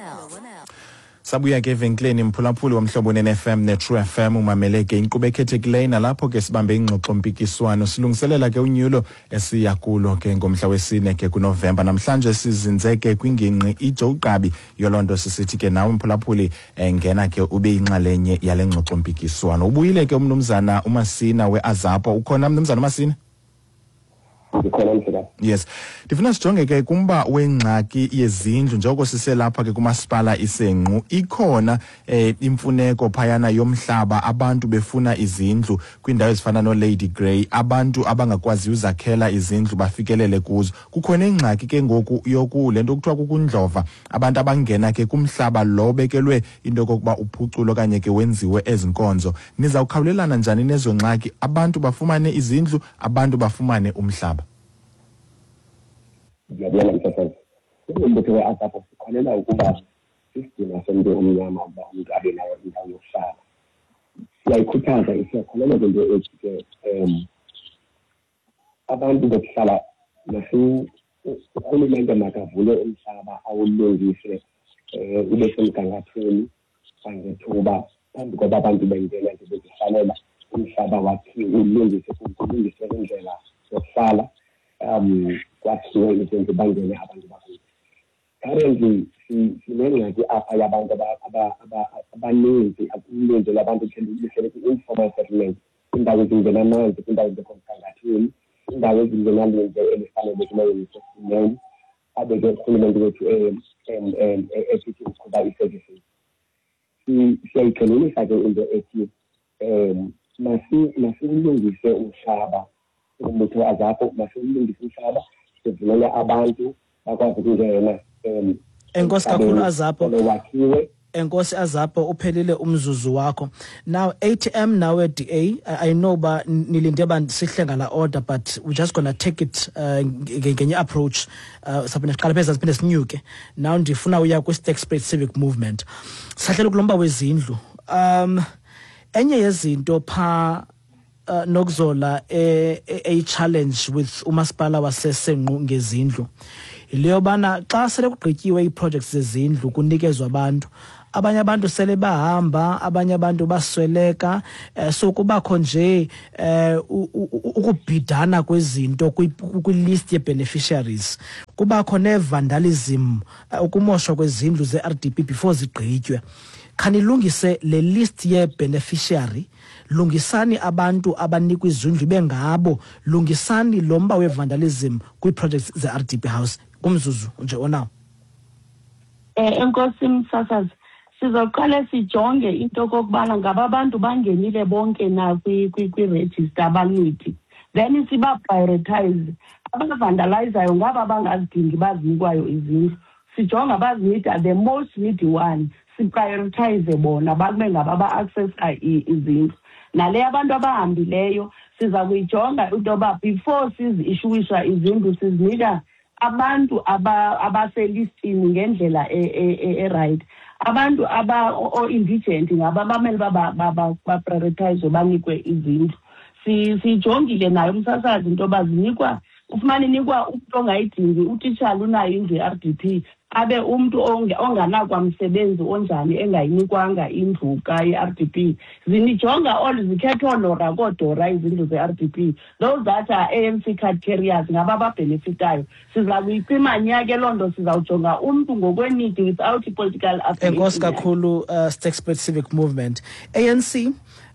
Sabuya ke evenkileni, mphulaphuli womhlobo ne-F M ne-True F M. Umamele ke inkqubo ekhethekileyo nalapho ke sibambe ingxoxo-mpikiswano silungiselela ke unyulo esiya kulo ke ngomhla wesine ke kuNovemba. Namhlanje sizinze ke kwingingqi iJoe Gqabi. Yoloo nto sisithi ke nawe mphulaphuli, eh, ngena ke ube yinxalenye yale ngxoxo-mpikiswano. Ubuyile ke umnumzana uMasina we-AZAPO. Ukhona, mnumzana uMasina? Ndikhona, mhlekazi. Yes, ndifuna sijonge ke kumba wengxaki yezindlu njengoko siselapha ke kumasipala iSenqu. Ikhona eh, imfuneko phayana yomhlaba, abantu befuna izindlu kwiindawo ezifana noLady Grey, abantu abangakwaziyo uzakhela izindlu bafikelele kuzo. Kukhona ingxaki ke ngoku yoku le nto kuthiwa kukundlova, abantu abangena ke kumhlaba lo bekelwe into yokokuba uphuculwe okanye ke wenziwe ezi nkonzo. Nizawukhawulelana njani nezo ngxaki, abantu bafumane izindlu, abantu bafumane umhlaba? Ndiyabulela, msasazi. Njengombutho we-AZAPO sikholelwa ukuba sisidima somntu omnyama ukuba umntu abe nayo indawo yokuhlala. Siyayikhuthaza, siyakholelwa kwinto ethi ke um abantu bokuhlala, urhulumente makavule umhlaba awulungise um ube semgangathweni kwangethuba phambi koba abantu bengena nje bezihlalela. Umhlaba wakhiwe, ulungiswe, kulungiswe indlela yokuhlala, um kwakhiwe izindlu, bangene abantu bakuthi. Currently sinengxaki apha yabantu abaninzi, uninzi lwabantu luhlele kwi-informal settlement, kwiindawo ezingenamanzi, kwiindawo ezingekho mgangathweni, kwiindawo ezingenalindle elifanelekileyo nesesimeni, abe ke urhulumente wethu esithi uqhuba ii-services. Siyayigxininisa ke into ethi um masiwulungise umhlaba. Umbutho we-AZAPO, masiwulungise umhlaba, sivumele abantu bakwazi ukungena um Enkosi kakhulu, AZAPO. Wakhiwe. Enkosi, AZAPO, uphelile umzuzu wakho. Now A T M nawe D A, I, I know ba nilinde ba sihle ngala order, but we're just going to take it uh, ngenye approach. uh, saphinde siqale pheza, siphinde sinyuke. Now ndifuna uya kwi-Sterkspruit Civic Movement. Sahlele kulomba wezindlu. um enye yezinto pha uh, nokuzola e challenge with umasipala waseSenqu ngezindlu leyo bana xa sele kugqityiwe ii-projects zezindlu, kunikezwa abantu, abanye abantu sele bahamba, abanye abantu basweleka, eh, so kubakho nje eh, ukubhidana kwezinto kwi-list ye-beneficiaries, kubakho ne-vandalism, ukumoshwa kwezindlu ze-R D P before zigqitywe. Khanilungise le list ye-beneficiary, lungisani abantu abanikwa izindlu bengabo, lungisani lo mba we-vandalism kwii-projects ze-R D P house, kumzuzu nje onawo. Eh enkosi msasazi, sizoqale sijonge into okokubana ngaba abantu bangenile bonke na kwi-register abanidi, then siba-prioritize. Abavandalizayo ngaba bangazidingi bazinikwayo izindlu, sijonga abazinida the most needy one, siprioritize bona babe ngaba ba-accessa izindlu. Nale abantu abahambileyo siza kuyijonga into yoba before sizi-issuisha izindlu sizinika abantu abaselistini ngendlela e-right. Abantu aba-indigent ngaba bamele ba-prioritize banikwe izindlu. Siyijongile nayo umsasazi into yoba zinikwa, ufumane inikwa umntu ongayidingi, utitshala unayo indlu ye-R D P, abe umntu onganakwamsebenzi onjani engayinikwanga indlu ka-I R D P. Zinijonga all zikhethwa oolora koodora izindlu ze-R D P. Those that are A N C card carriers ngaba ababhenefitayo. Siza kuyicima nya ke loo nto, sizawujonga umntu ngokwenidi without i-political affiliation. Enkosi kakhulu, uh, Sterkspruit Civic Movement. A N C,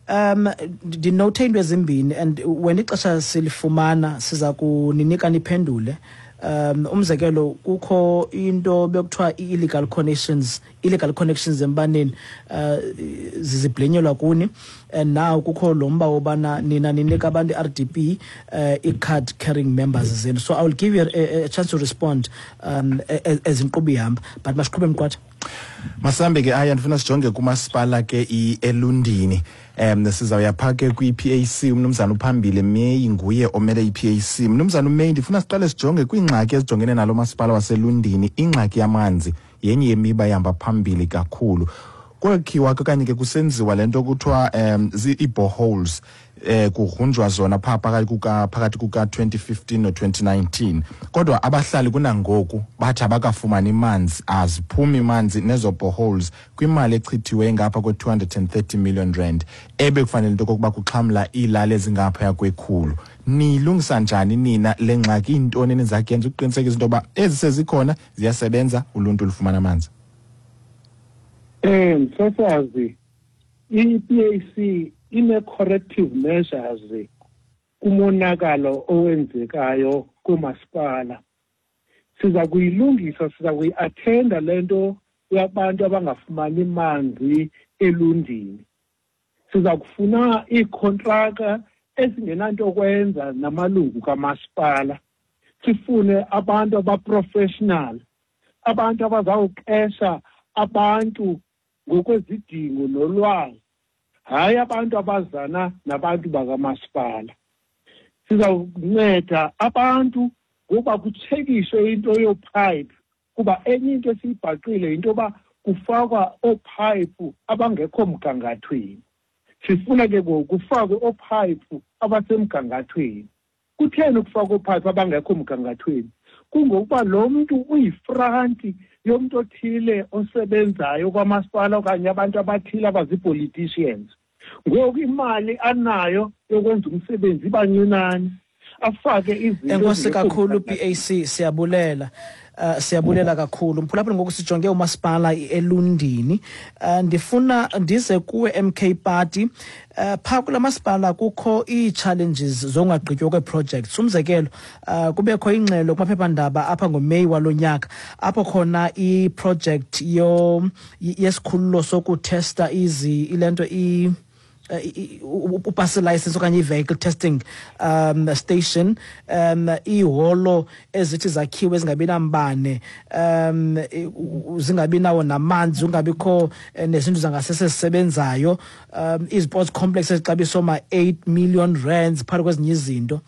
um ndinothe into ezimbini and when ixesha silifumana siza kuninika niphendule. Um umzekelo kukho into bekuthiwa i-illegal connections, illegal connections embaneni uh ziziblenyelwa kuni, and now kukho lo mba wobana nina ninika abantu i-R D P uh, i-card carrying members zenu. So I will give you a, a chance to respond um as inkqubo ihamba, but masiqhube Mqwatha. Masihambe ke aya, ndifuna sijonge kumasipala ke i-Elundini. Um sizawuya phaa ke kwi-P A C, umnumzana uphambile Meyi nguye omele i-P A C. Mnumzana uMeyi, ndifuna siqale sijonge kwiingxaki ezijongene nalo masipala waseLundini. Ingxaki yamanzi yenye yemiba ehamba phambili kakhulu. Kwakhiwa okanye ke kusenziwa le nto kuthiwa um ii-boreholes, eh kugrunjwa zona phaa phakathi kuka phakathi kuka twenty fifteen no twenty nineteen. Kodwa abahlali kunangoku bathi abakafumani manzi, aziphumi manzi nezo boreholes kwimali echithiwe ngapha kwe two hundred and thirty million rand ebe kufanele into okokuba kuxhamla iilali ezingaphaya kwekhulu. Niyilungisa njani nina le ngxaki? Iintoni eniza kuyenza ukuqinisekisa into yoba ezi sezikhona ziyasebenza, uluntu lufumana amanzi? Eh msasazi, i-P A C ine-corrective measures kumonakalo owenzekayo kumasipala. Siza kuyilungisa, siza kuyi-attenda le nto yabantu abangafumani manzi eLundini. Siza kufuna iikhontraka ezingenanto kwenza namalungu kamasipala. Sifune abantu abaprofessional, abantu abazawuqesha abantu ngokwezidingo nolwazi, hayi abantu abazana nabantu bakamasipala. Sizawunceda abantu ngoba kutshekiswe into yoophayiphi, kuba enye into esiyibhaqile yinto yoba kufakwa oophayiphi abangekho mgangathweni. Sifuna ke ngoku kufakwe oophayiphi abasemgangathweni. Kutheni ukufakwa oophayiphi abangekho mgangathweni? Kungokuba lo mntu uyifranti yomntu othile osebenzayo kwamasipala okanye abantu abathile abazipoliticians. Ngoku imali anayo yokwenza umsebenzi iba ncinane, afake izinto. Enkosi kakhulu P A C, siyabulela. Uh, siyabulela kakhulu mphulaphuli. Ngoku sijonge umasipala eLundini. Uh, ndifuna ndize kuwe M K Party. Uh, phaa kula masipala kukho ii-challenges zongagqitywa kwee-projects. Umzekelo, uh, kubekho ingxelo kumaphephandaba apha ngoMeyi walo nyaka apho khona i-project yo yesikhululo sokuthesta izi ile nto i upase license okanye i-vehicle testing um station, um iiholo ezithi zakhiwe ezingabi nambane, um zingabi nawo namanzi, kungabikho nezinto zangasese zisebenzayo, um i-sports complex ezixabisa oma-eight million rands phakathi kwezinye izinto.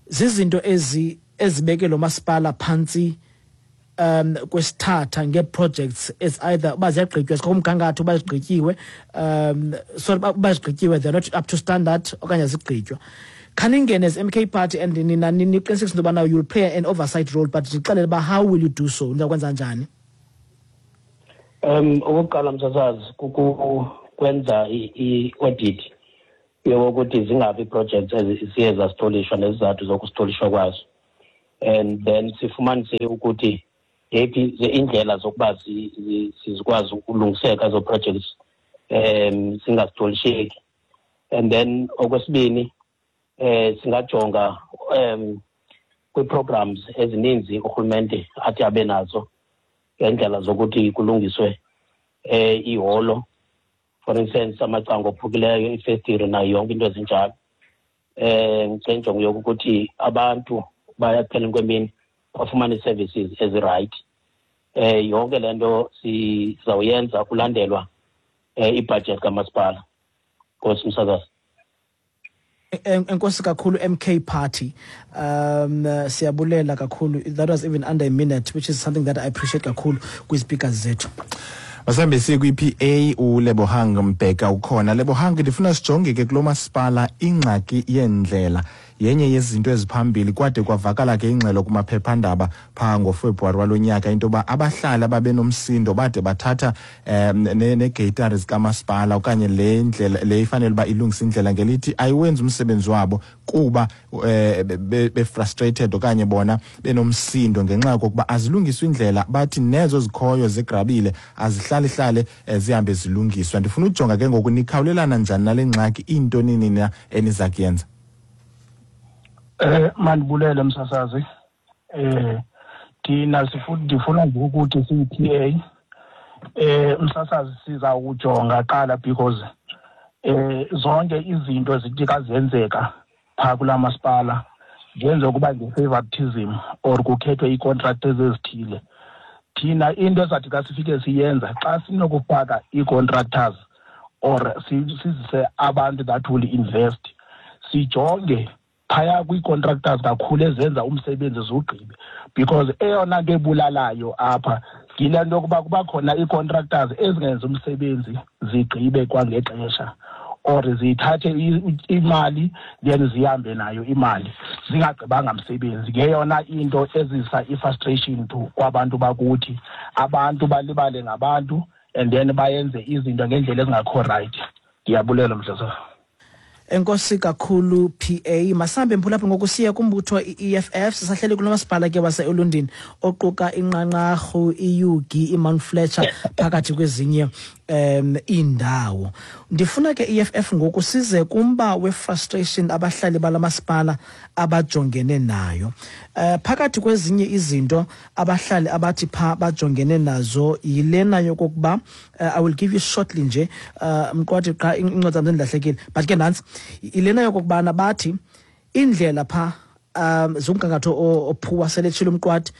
Zizinto ezi ezibeke lo masipala phantsi um kwesithatha ngee-projects as either uba ziyagqitywa zikomgangatho uba zigqityiwe, um sorry uba zigqityiwe they're not up to standard okanye zigqitywa. Khaningene as M K Party and nina niqinisekise into yobana you'll play an oversight role, but ndixelele uba how will you do so, nizakwenza njani? Um okokuqala msasazi kukwenza i-audit yokuthi zingaphi ii-projects eziye zasitolishwa nezizathu zokusitolishwa kwazo, and then sifumanise ukuthi ngeyiphi indlela zokuba sizikwazi ukulungiseka ezo projects um zingazitolisheki. And then okwesibini eh singajonga um kwi-programs ezininzi urhulumente athi abe nazo ngeendlela zokuthi kulungiswe eh iholo, for instance amacango ophukileyo, ifestire nayo yonke into ezinjalo. Eh ngenjongo yokuthi abantu bayapheleni kwemini bafumane services ezi-right. Eh yonke le nto sizawuyenza kulandelwa eh ibudget kamasipala. Nkosi msakazi. Enkosi kakhulu M K Party. Um siyabulela kakhulu. That was even under a minute, which is something that I appreciate kakhulu kwi-speakers zethu. Masambe siye kwi-P A uLebohang Mbheka ukhona. Lebohang, ndifuna sijonge ke kulo masipala ingxaki yendlela. Yenye yezinto eziphambili kwade kwavakala ke ingxelo kumaphephandaba phaa ngoFebruwari walonyaka into yoba abahlali ababenomsindo bade bathatha um neegeyitari zikamasipala okanye le ndlela le ifanele uba ilungise indlela ngelithi ayiwenzi umsebenzi wabo kuba um befrustrated okanye bona benomsindo ngenxa yokokuba azilungiswa indlela, bathi nezo zikhoyo zigrabile azihlalihlale zihambe zilungiswa. Ndifuna ujonga ke ngoku nikhawulelana njani nale ngxaki, into nini na eniza kuyenza? Eh mandibulele msasazi. Eh thina sifuna ndifuna nje ukuthi siyi-P A eh msasazi siza ukujonga qala because eh zonke izinto zithi kazenzeka pha kula masipala zenze kuba nge-favoritism or kukhethwe ii-contractors ezithile. Thina into ezathi xa sifike siyenza xa sinokufaka ii-contractors or sizise abantu that will invest, sijonge phaya kwii-contractors kakhulu ezenza umsebenzi zugqibe, because eyona nto ebulalayo apha yile nto yokuba kuba khona ii-contractors ezingenzi umsebenzi zigqibe kwangexesha or zithathe imali then zihambe nayo imali zingagqibanga msebenzi. Ngeyona into ezisa i-frustration to kwabantu bakuthi, abantu balibale ngabantu and then bayenze izinto ngendlela ezingakho right. Ndiyabulela mhlekazi. Enkosi kakhulu P A. Masambe mphulaphuli ngokusiya kumbutho i-E F F. Sisahleli kulo masipala ke wase-Elundini oquka iNqanqarhu, iUgie, iMount Fletcher phakathi kwezinye um iindawo. Ndifuna ke E F F ngoku size kumba we-frustration abahlali bala masipala abajongene nayo. Uh, phakathi kwezinye izinto abahlali abathi pha bajongene nazo yilena yokokuba uh, I will give you shortly nje uh, mqwathi qha incwadi zam zindilahlekile, but ke nantsi ilena yokokubana bathi indlela pha um zomgangatho ophuwa seletshilo umqwathi,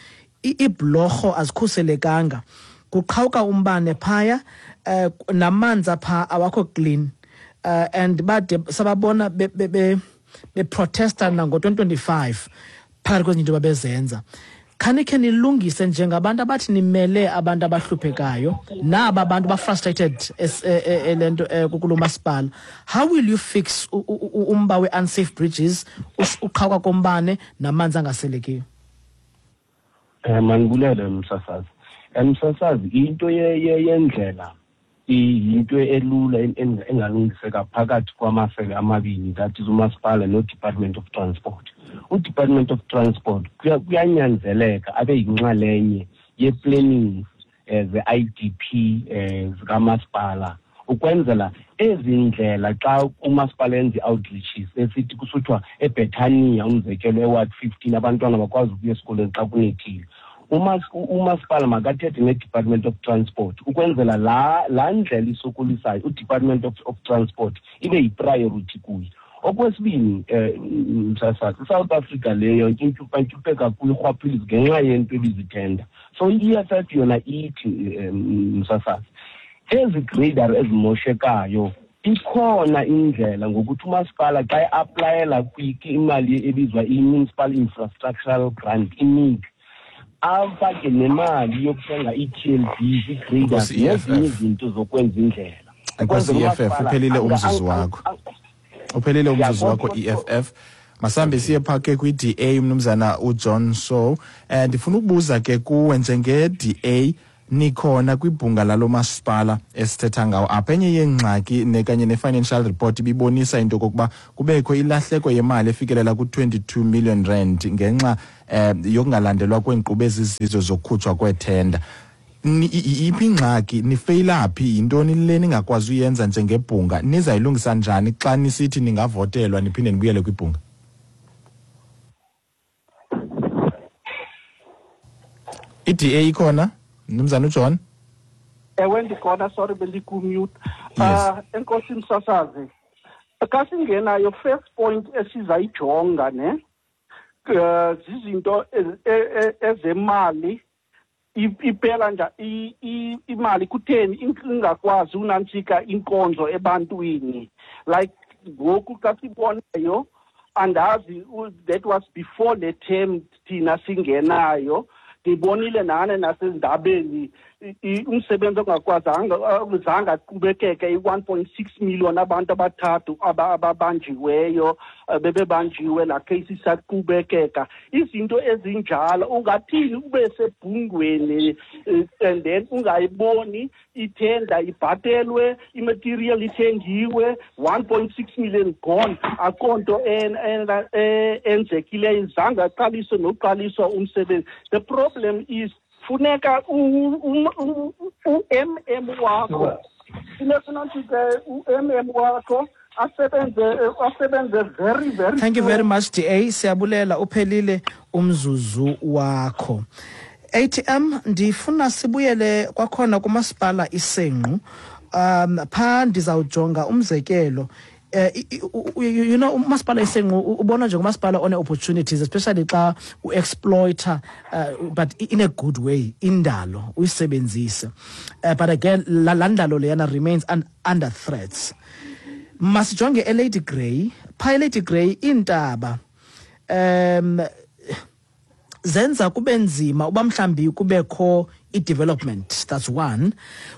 iibhlorho azikhuselekanga, kuqhawuka umbane phaya, uh, namanzi apha awakho clean, uh, and bade sababona be, be, be, beprotesta nango twenty twenty-five phakathi kwezinye into babezenza. Khanikhe nilungise njengabantu abathi nimele abantu abahluphekayo naba abantu ba-frustrated le nto kulo masipala. How will you fix umba we-unsafe bridges, uqhawuka kombane namanzi angaselekiyo? Eh mandibulele msasazi. Msasazi, into yendlela iyinto elula engalungiseka phakathi kwamasebe amabini, that is umasipala no-Department of Transport. U-Department of Transport kuyanyanzeleka abe yinxalenye ye-planning ze-I D P zikamasipala ukwenzela ezi ndlela xa umasipala enza i-outreaches esithi kusuthiwa eBethania umzekelo eWard fifteen abantwana bakwazi ukuya esikolweni xa kunethile. Umasipala makathethe ne-Department of Transport ukwenzela la la ndlela isokolisayo u-Department of, of Transport ibe yi-priority kuyo. Okwesibini eh msasazi, iSouth Africa leyo intyupa kuyo irhwaphilizo ngenxa yento ebizithenda. So i-E F F yona ithi msasazi, ezi grader ezimoshekayo ikhona indlela ngokuthi umasipala xa e-aplayela imali ebizwa i-Municipal Infrastructural Grant, I M I G, afake nemali yokuthenga i-T L B, i-graders nezinye izinto zokwenza indlela. Enkosi E F F, uphelile umzuzu wakho. Uphelile umzuzu wakho E F F. Masambe siye pha ke kwi-D A umnumzana uJohn Sow. Eh ndifuna ukubuza ke kuwe njenge-D A nikhona kwibhunga lalo masipala esithetha ngawo apha. Enye yeengxaki nekanye ne-financial report ibibonisa into yokokuba kubekho ilahleko yemali efikelela ku-twenty-two million rand ngenxa eh yokungalandelwa kweenkqubo ezizizo zokukhutshwa kweethenda. Iphi ingxaki, nifeyila phi, yintoni le ningakwazi uyenza njengebhunga? Nizayilungisa njani xa nisithi ningavotelwa niphinde nibuyele kwibhunga? I-D A ikhona? Mnumzana uJohn? Ewe, ndikhona, sorry, bendiku-mute. Uh, enkosi msasazi. Xa singenayo, first point esizayijonga ne, uh, zizinto ezemali, iphela nje imali kutheni ingakwazi unantsika inkonzo ebantwini. Like ngoku xa sibonayo, andazi, that was before le term thina singenayo, ndibonile nane nasezindabeni umsebenzi ongakwazanga uzange aqhubekeke, i-one point six million abantu abathathu ababanjiweyo, bebebanjiwe, laa case isaqhubekeka. Izinto ezinjalo ungathini ube sebhungweni and then ungayiboni ithenda ibhatelwe, imaterial ithengiwe, one point six million gone, akho nto enzekileyo, zange aqaliswe nokuqaliswa umsebenzi. The problem is funeka u-M M wakho, funeka unantsike u-M M wakho asebenze, asebenze very, very. Thank you very much, D A. Siyabulela, uphelile umzuzu wakho. A T M, ndifuna sibuyele kwakhona kumasipala iSenqu. Um pha ndizawujonga umzekelo. Uh, you know, umasipala iSenqu ubona nje ngumasipala one opportunities, especially xa u-exploiter, uh, but in a good way, indalo uyisebenzise. Uh, but again, la ndalo leyana remains un, under threats. Masijonge eLady Grey. Pha eLady Grey iintaba um zenza kube nzima uba mhlambi kubekho i-development, that's one.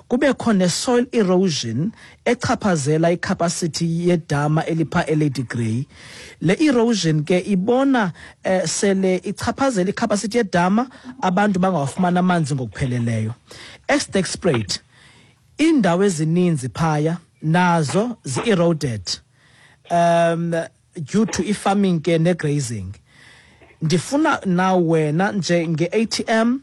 Kubekho ne-soil erosion echaphazela i-capacity yedama elipha eLady Grey. Le erosion ke ibona eh, sele ichaphazela i-capacity yedama, abantu bangawafumana amanzi ngokupheleleyo. Sterkspruit, iindawo ezininzi phaya nazo zi-eroded um due to i-farming ke ne-grazing. Ndifuna na wena nje nge-A T M,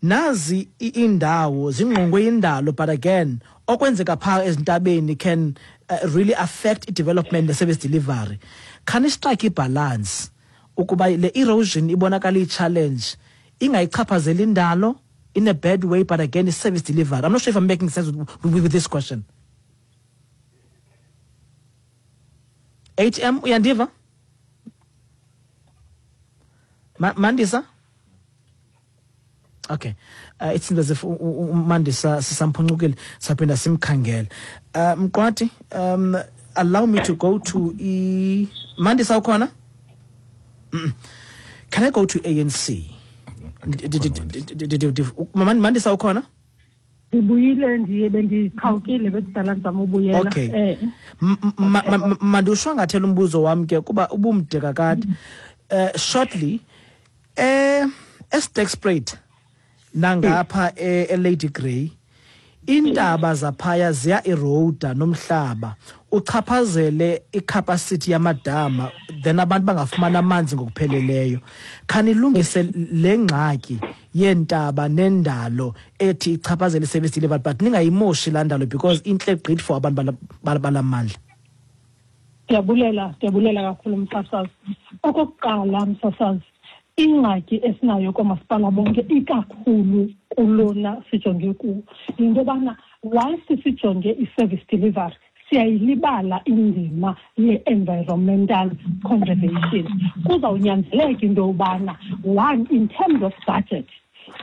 nazi indawo zingqongwe indalo, but again okwenzeka pha ezintabeni can uh, really affect i-development ne-service delivery. Khani strike i-balance ukuba le erosion ibonakala i-challenge ingayichaphazeli indalo in a bad way, but again i-service delivery. I'm not sure if I'm making sense with, with, with this question. A T M, uyandiva? Mandisa? Okay. Uh, it seems as if Mandisa sisamphunqukile, saphinda simkhangele. Uh, Mqwathi, um, allow me to go to e Mandisa ukhona? Mm. Can I go to A N C? Mandisa ukhona? Ndibuyile, ndiye bendiqhawukile bekudala ndizama ubuyela. Okay. Mandiwushwangathele umbuzo wam ke kuba ubumde kakade. Uh, shortly, eh eSterkspruit nangapha eLady Grey, intaba zaphaya ziya eroda nomhlaba uchaphazele icapacity yamadama, then abantu bangafumana amanzi ngokupheleleyo. Khanilungise le ngxaki yentaba nendalo ethi ichaphazele service delivery, but ningayimoshi laa ndalo because intle gqithi for abantu balamandla. Ndiyabulela, ndiyabulela kakhulu msasazi. Okokuqala msasazi, ingxaki esinayo koomasipala bonke ikakhulu kulona sijonge kuwo yinto yobana whilst sijonge i-service delivery siyayilibala indima ye-environmental conservation. Kuzawunyanzeleka into yobana one, in terms of budget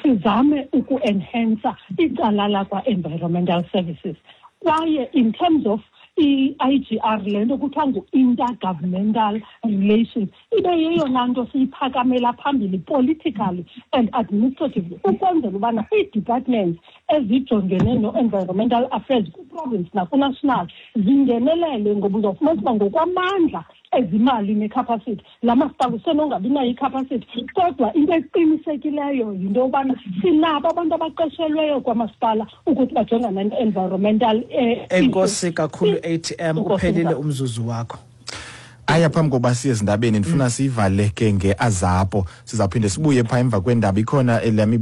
sizame uku-enhansa icala lakwa-environmental services, kwaye in terms of i-I G R le nto kuthiwa ngu-intergovernmental relations ibe yeyona nto siyiphakamela phambili politically and administratively ukwenzela ubana ii-departments ezijongene no-environmental affairs kwi-province naku-national zingenelele, ngoba uzawufumanisa uba ngokwamandla ezimali necapacity la masipala usenongabi nayo icapacity, kodwa into eqinisekileyo yinto yobana sinabo abantu abaqeshelweyo kwamasipala ukuthi bajongane ne-environmental. Enkosi kakhulu A T M, uphelile umzuzu wakho. Aya phambi koba siye ezindabeni ndifuna siyivale ke ngeAZAPO, sizawuphinde sibuye phaa emva kwendaba. Ikhona elami.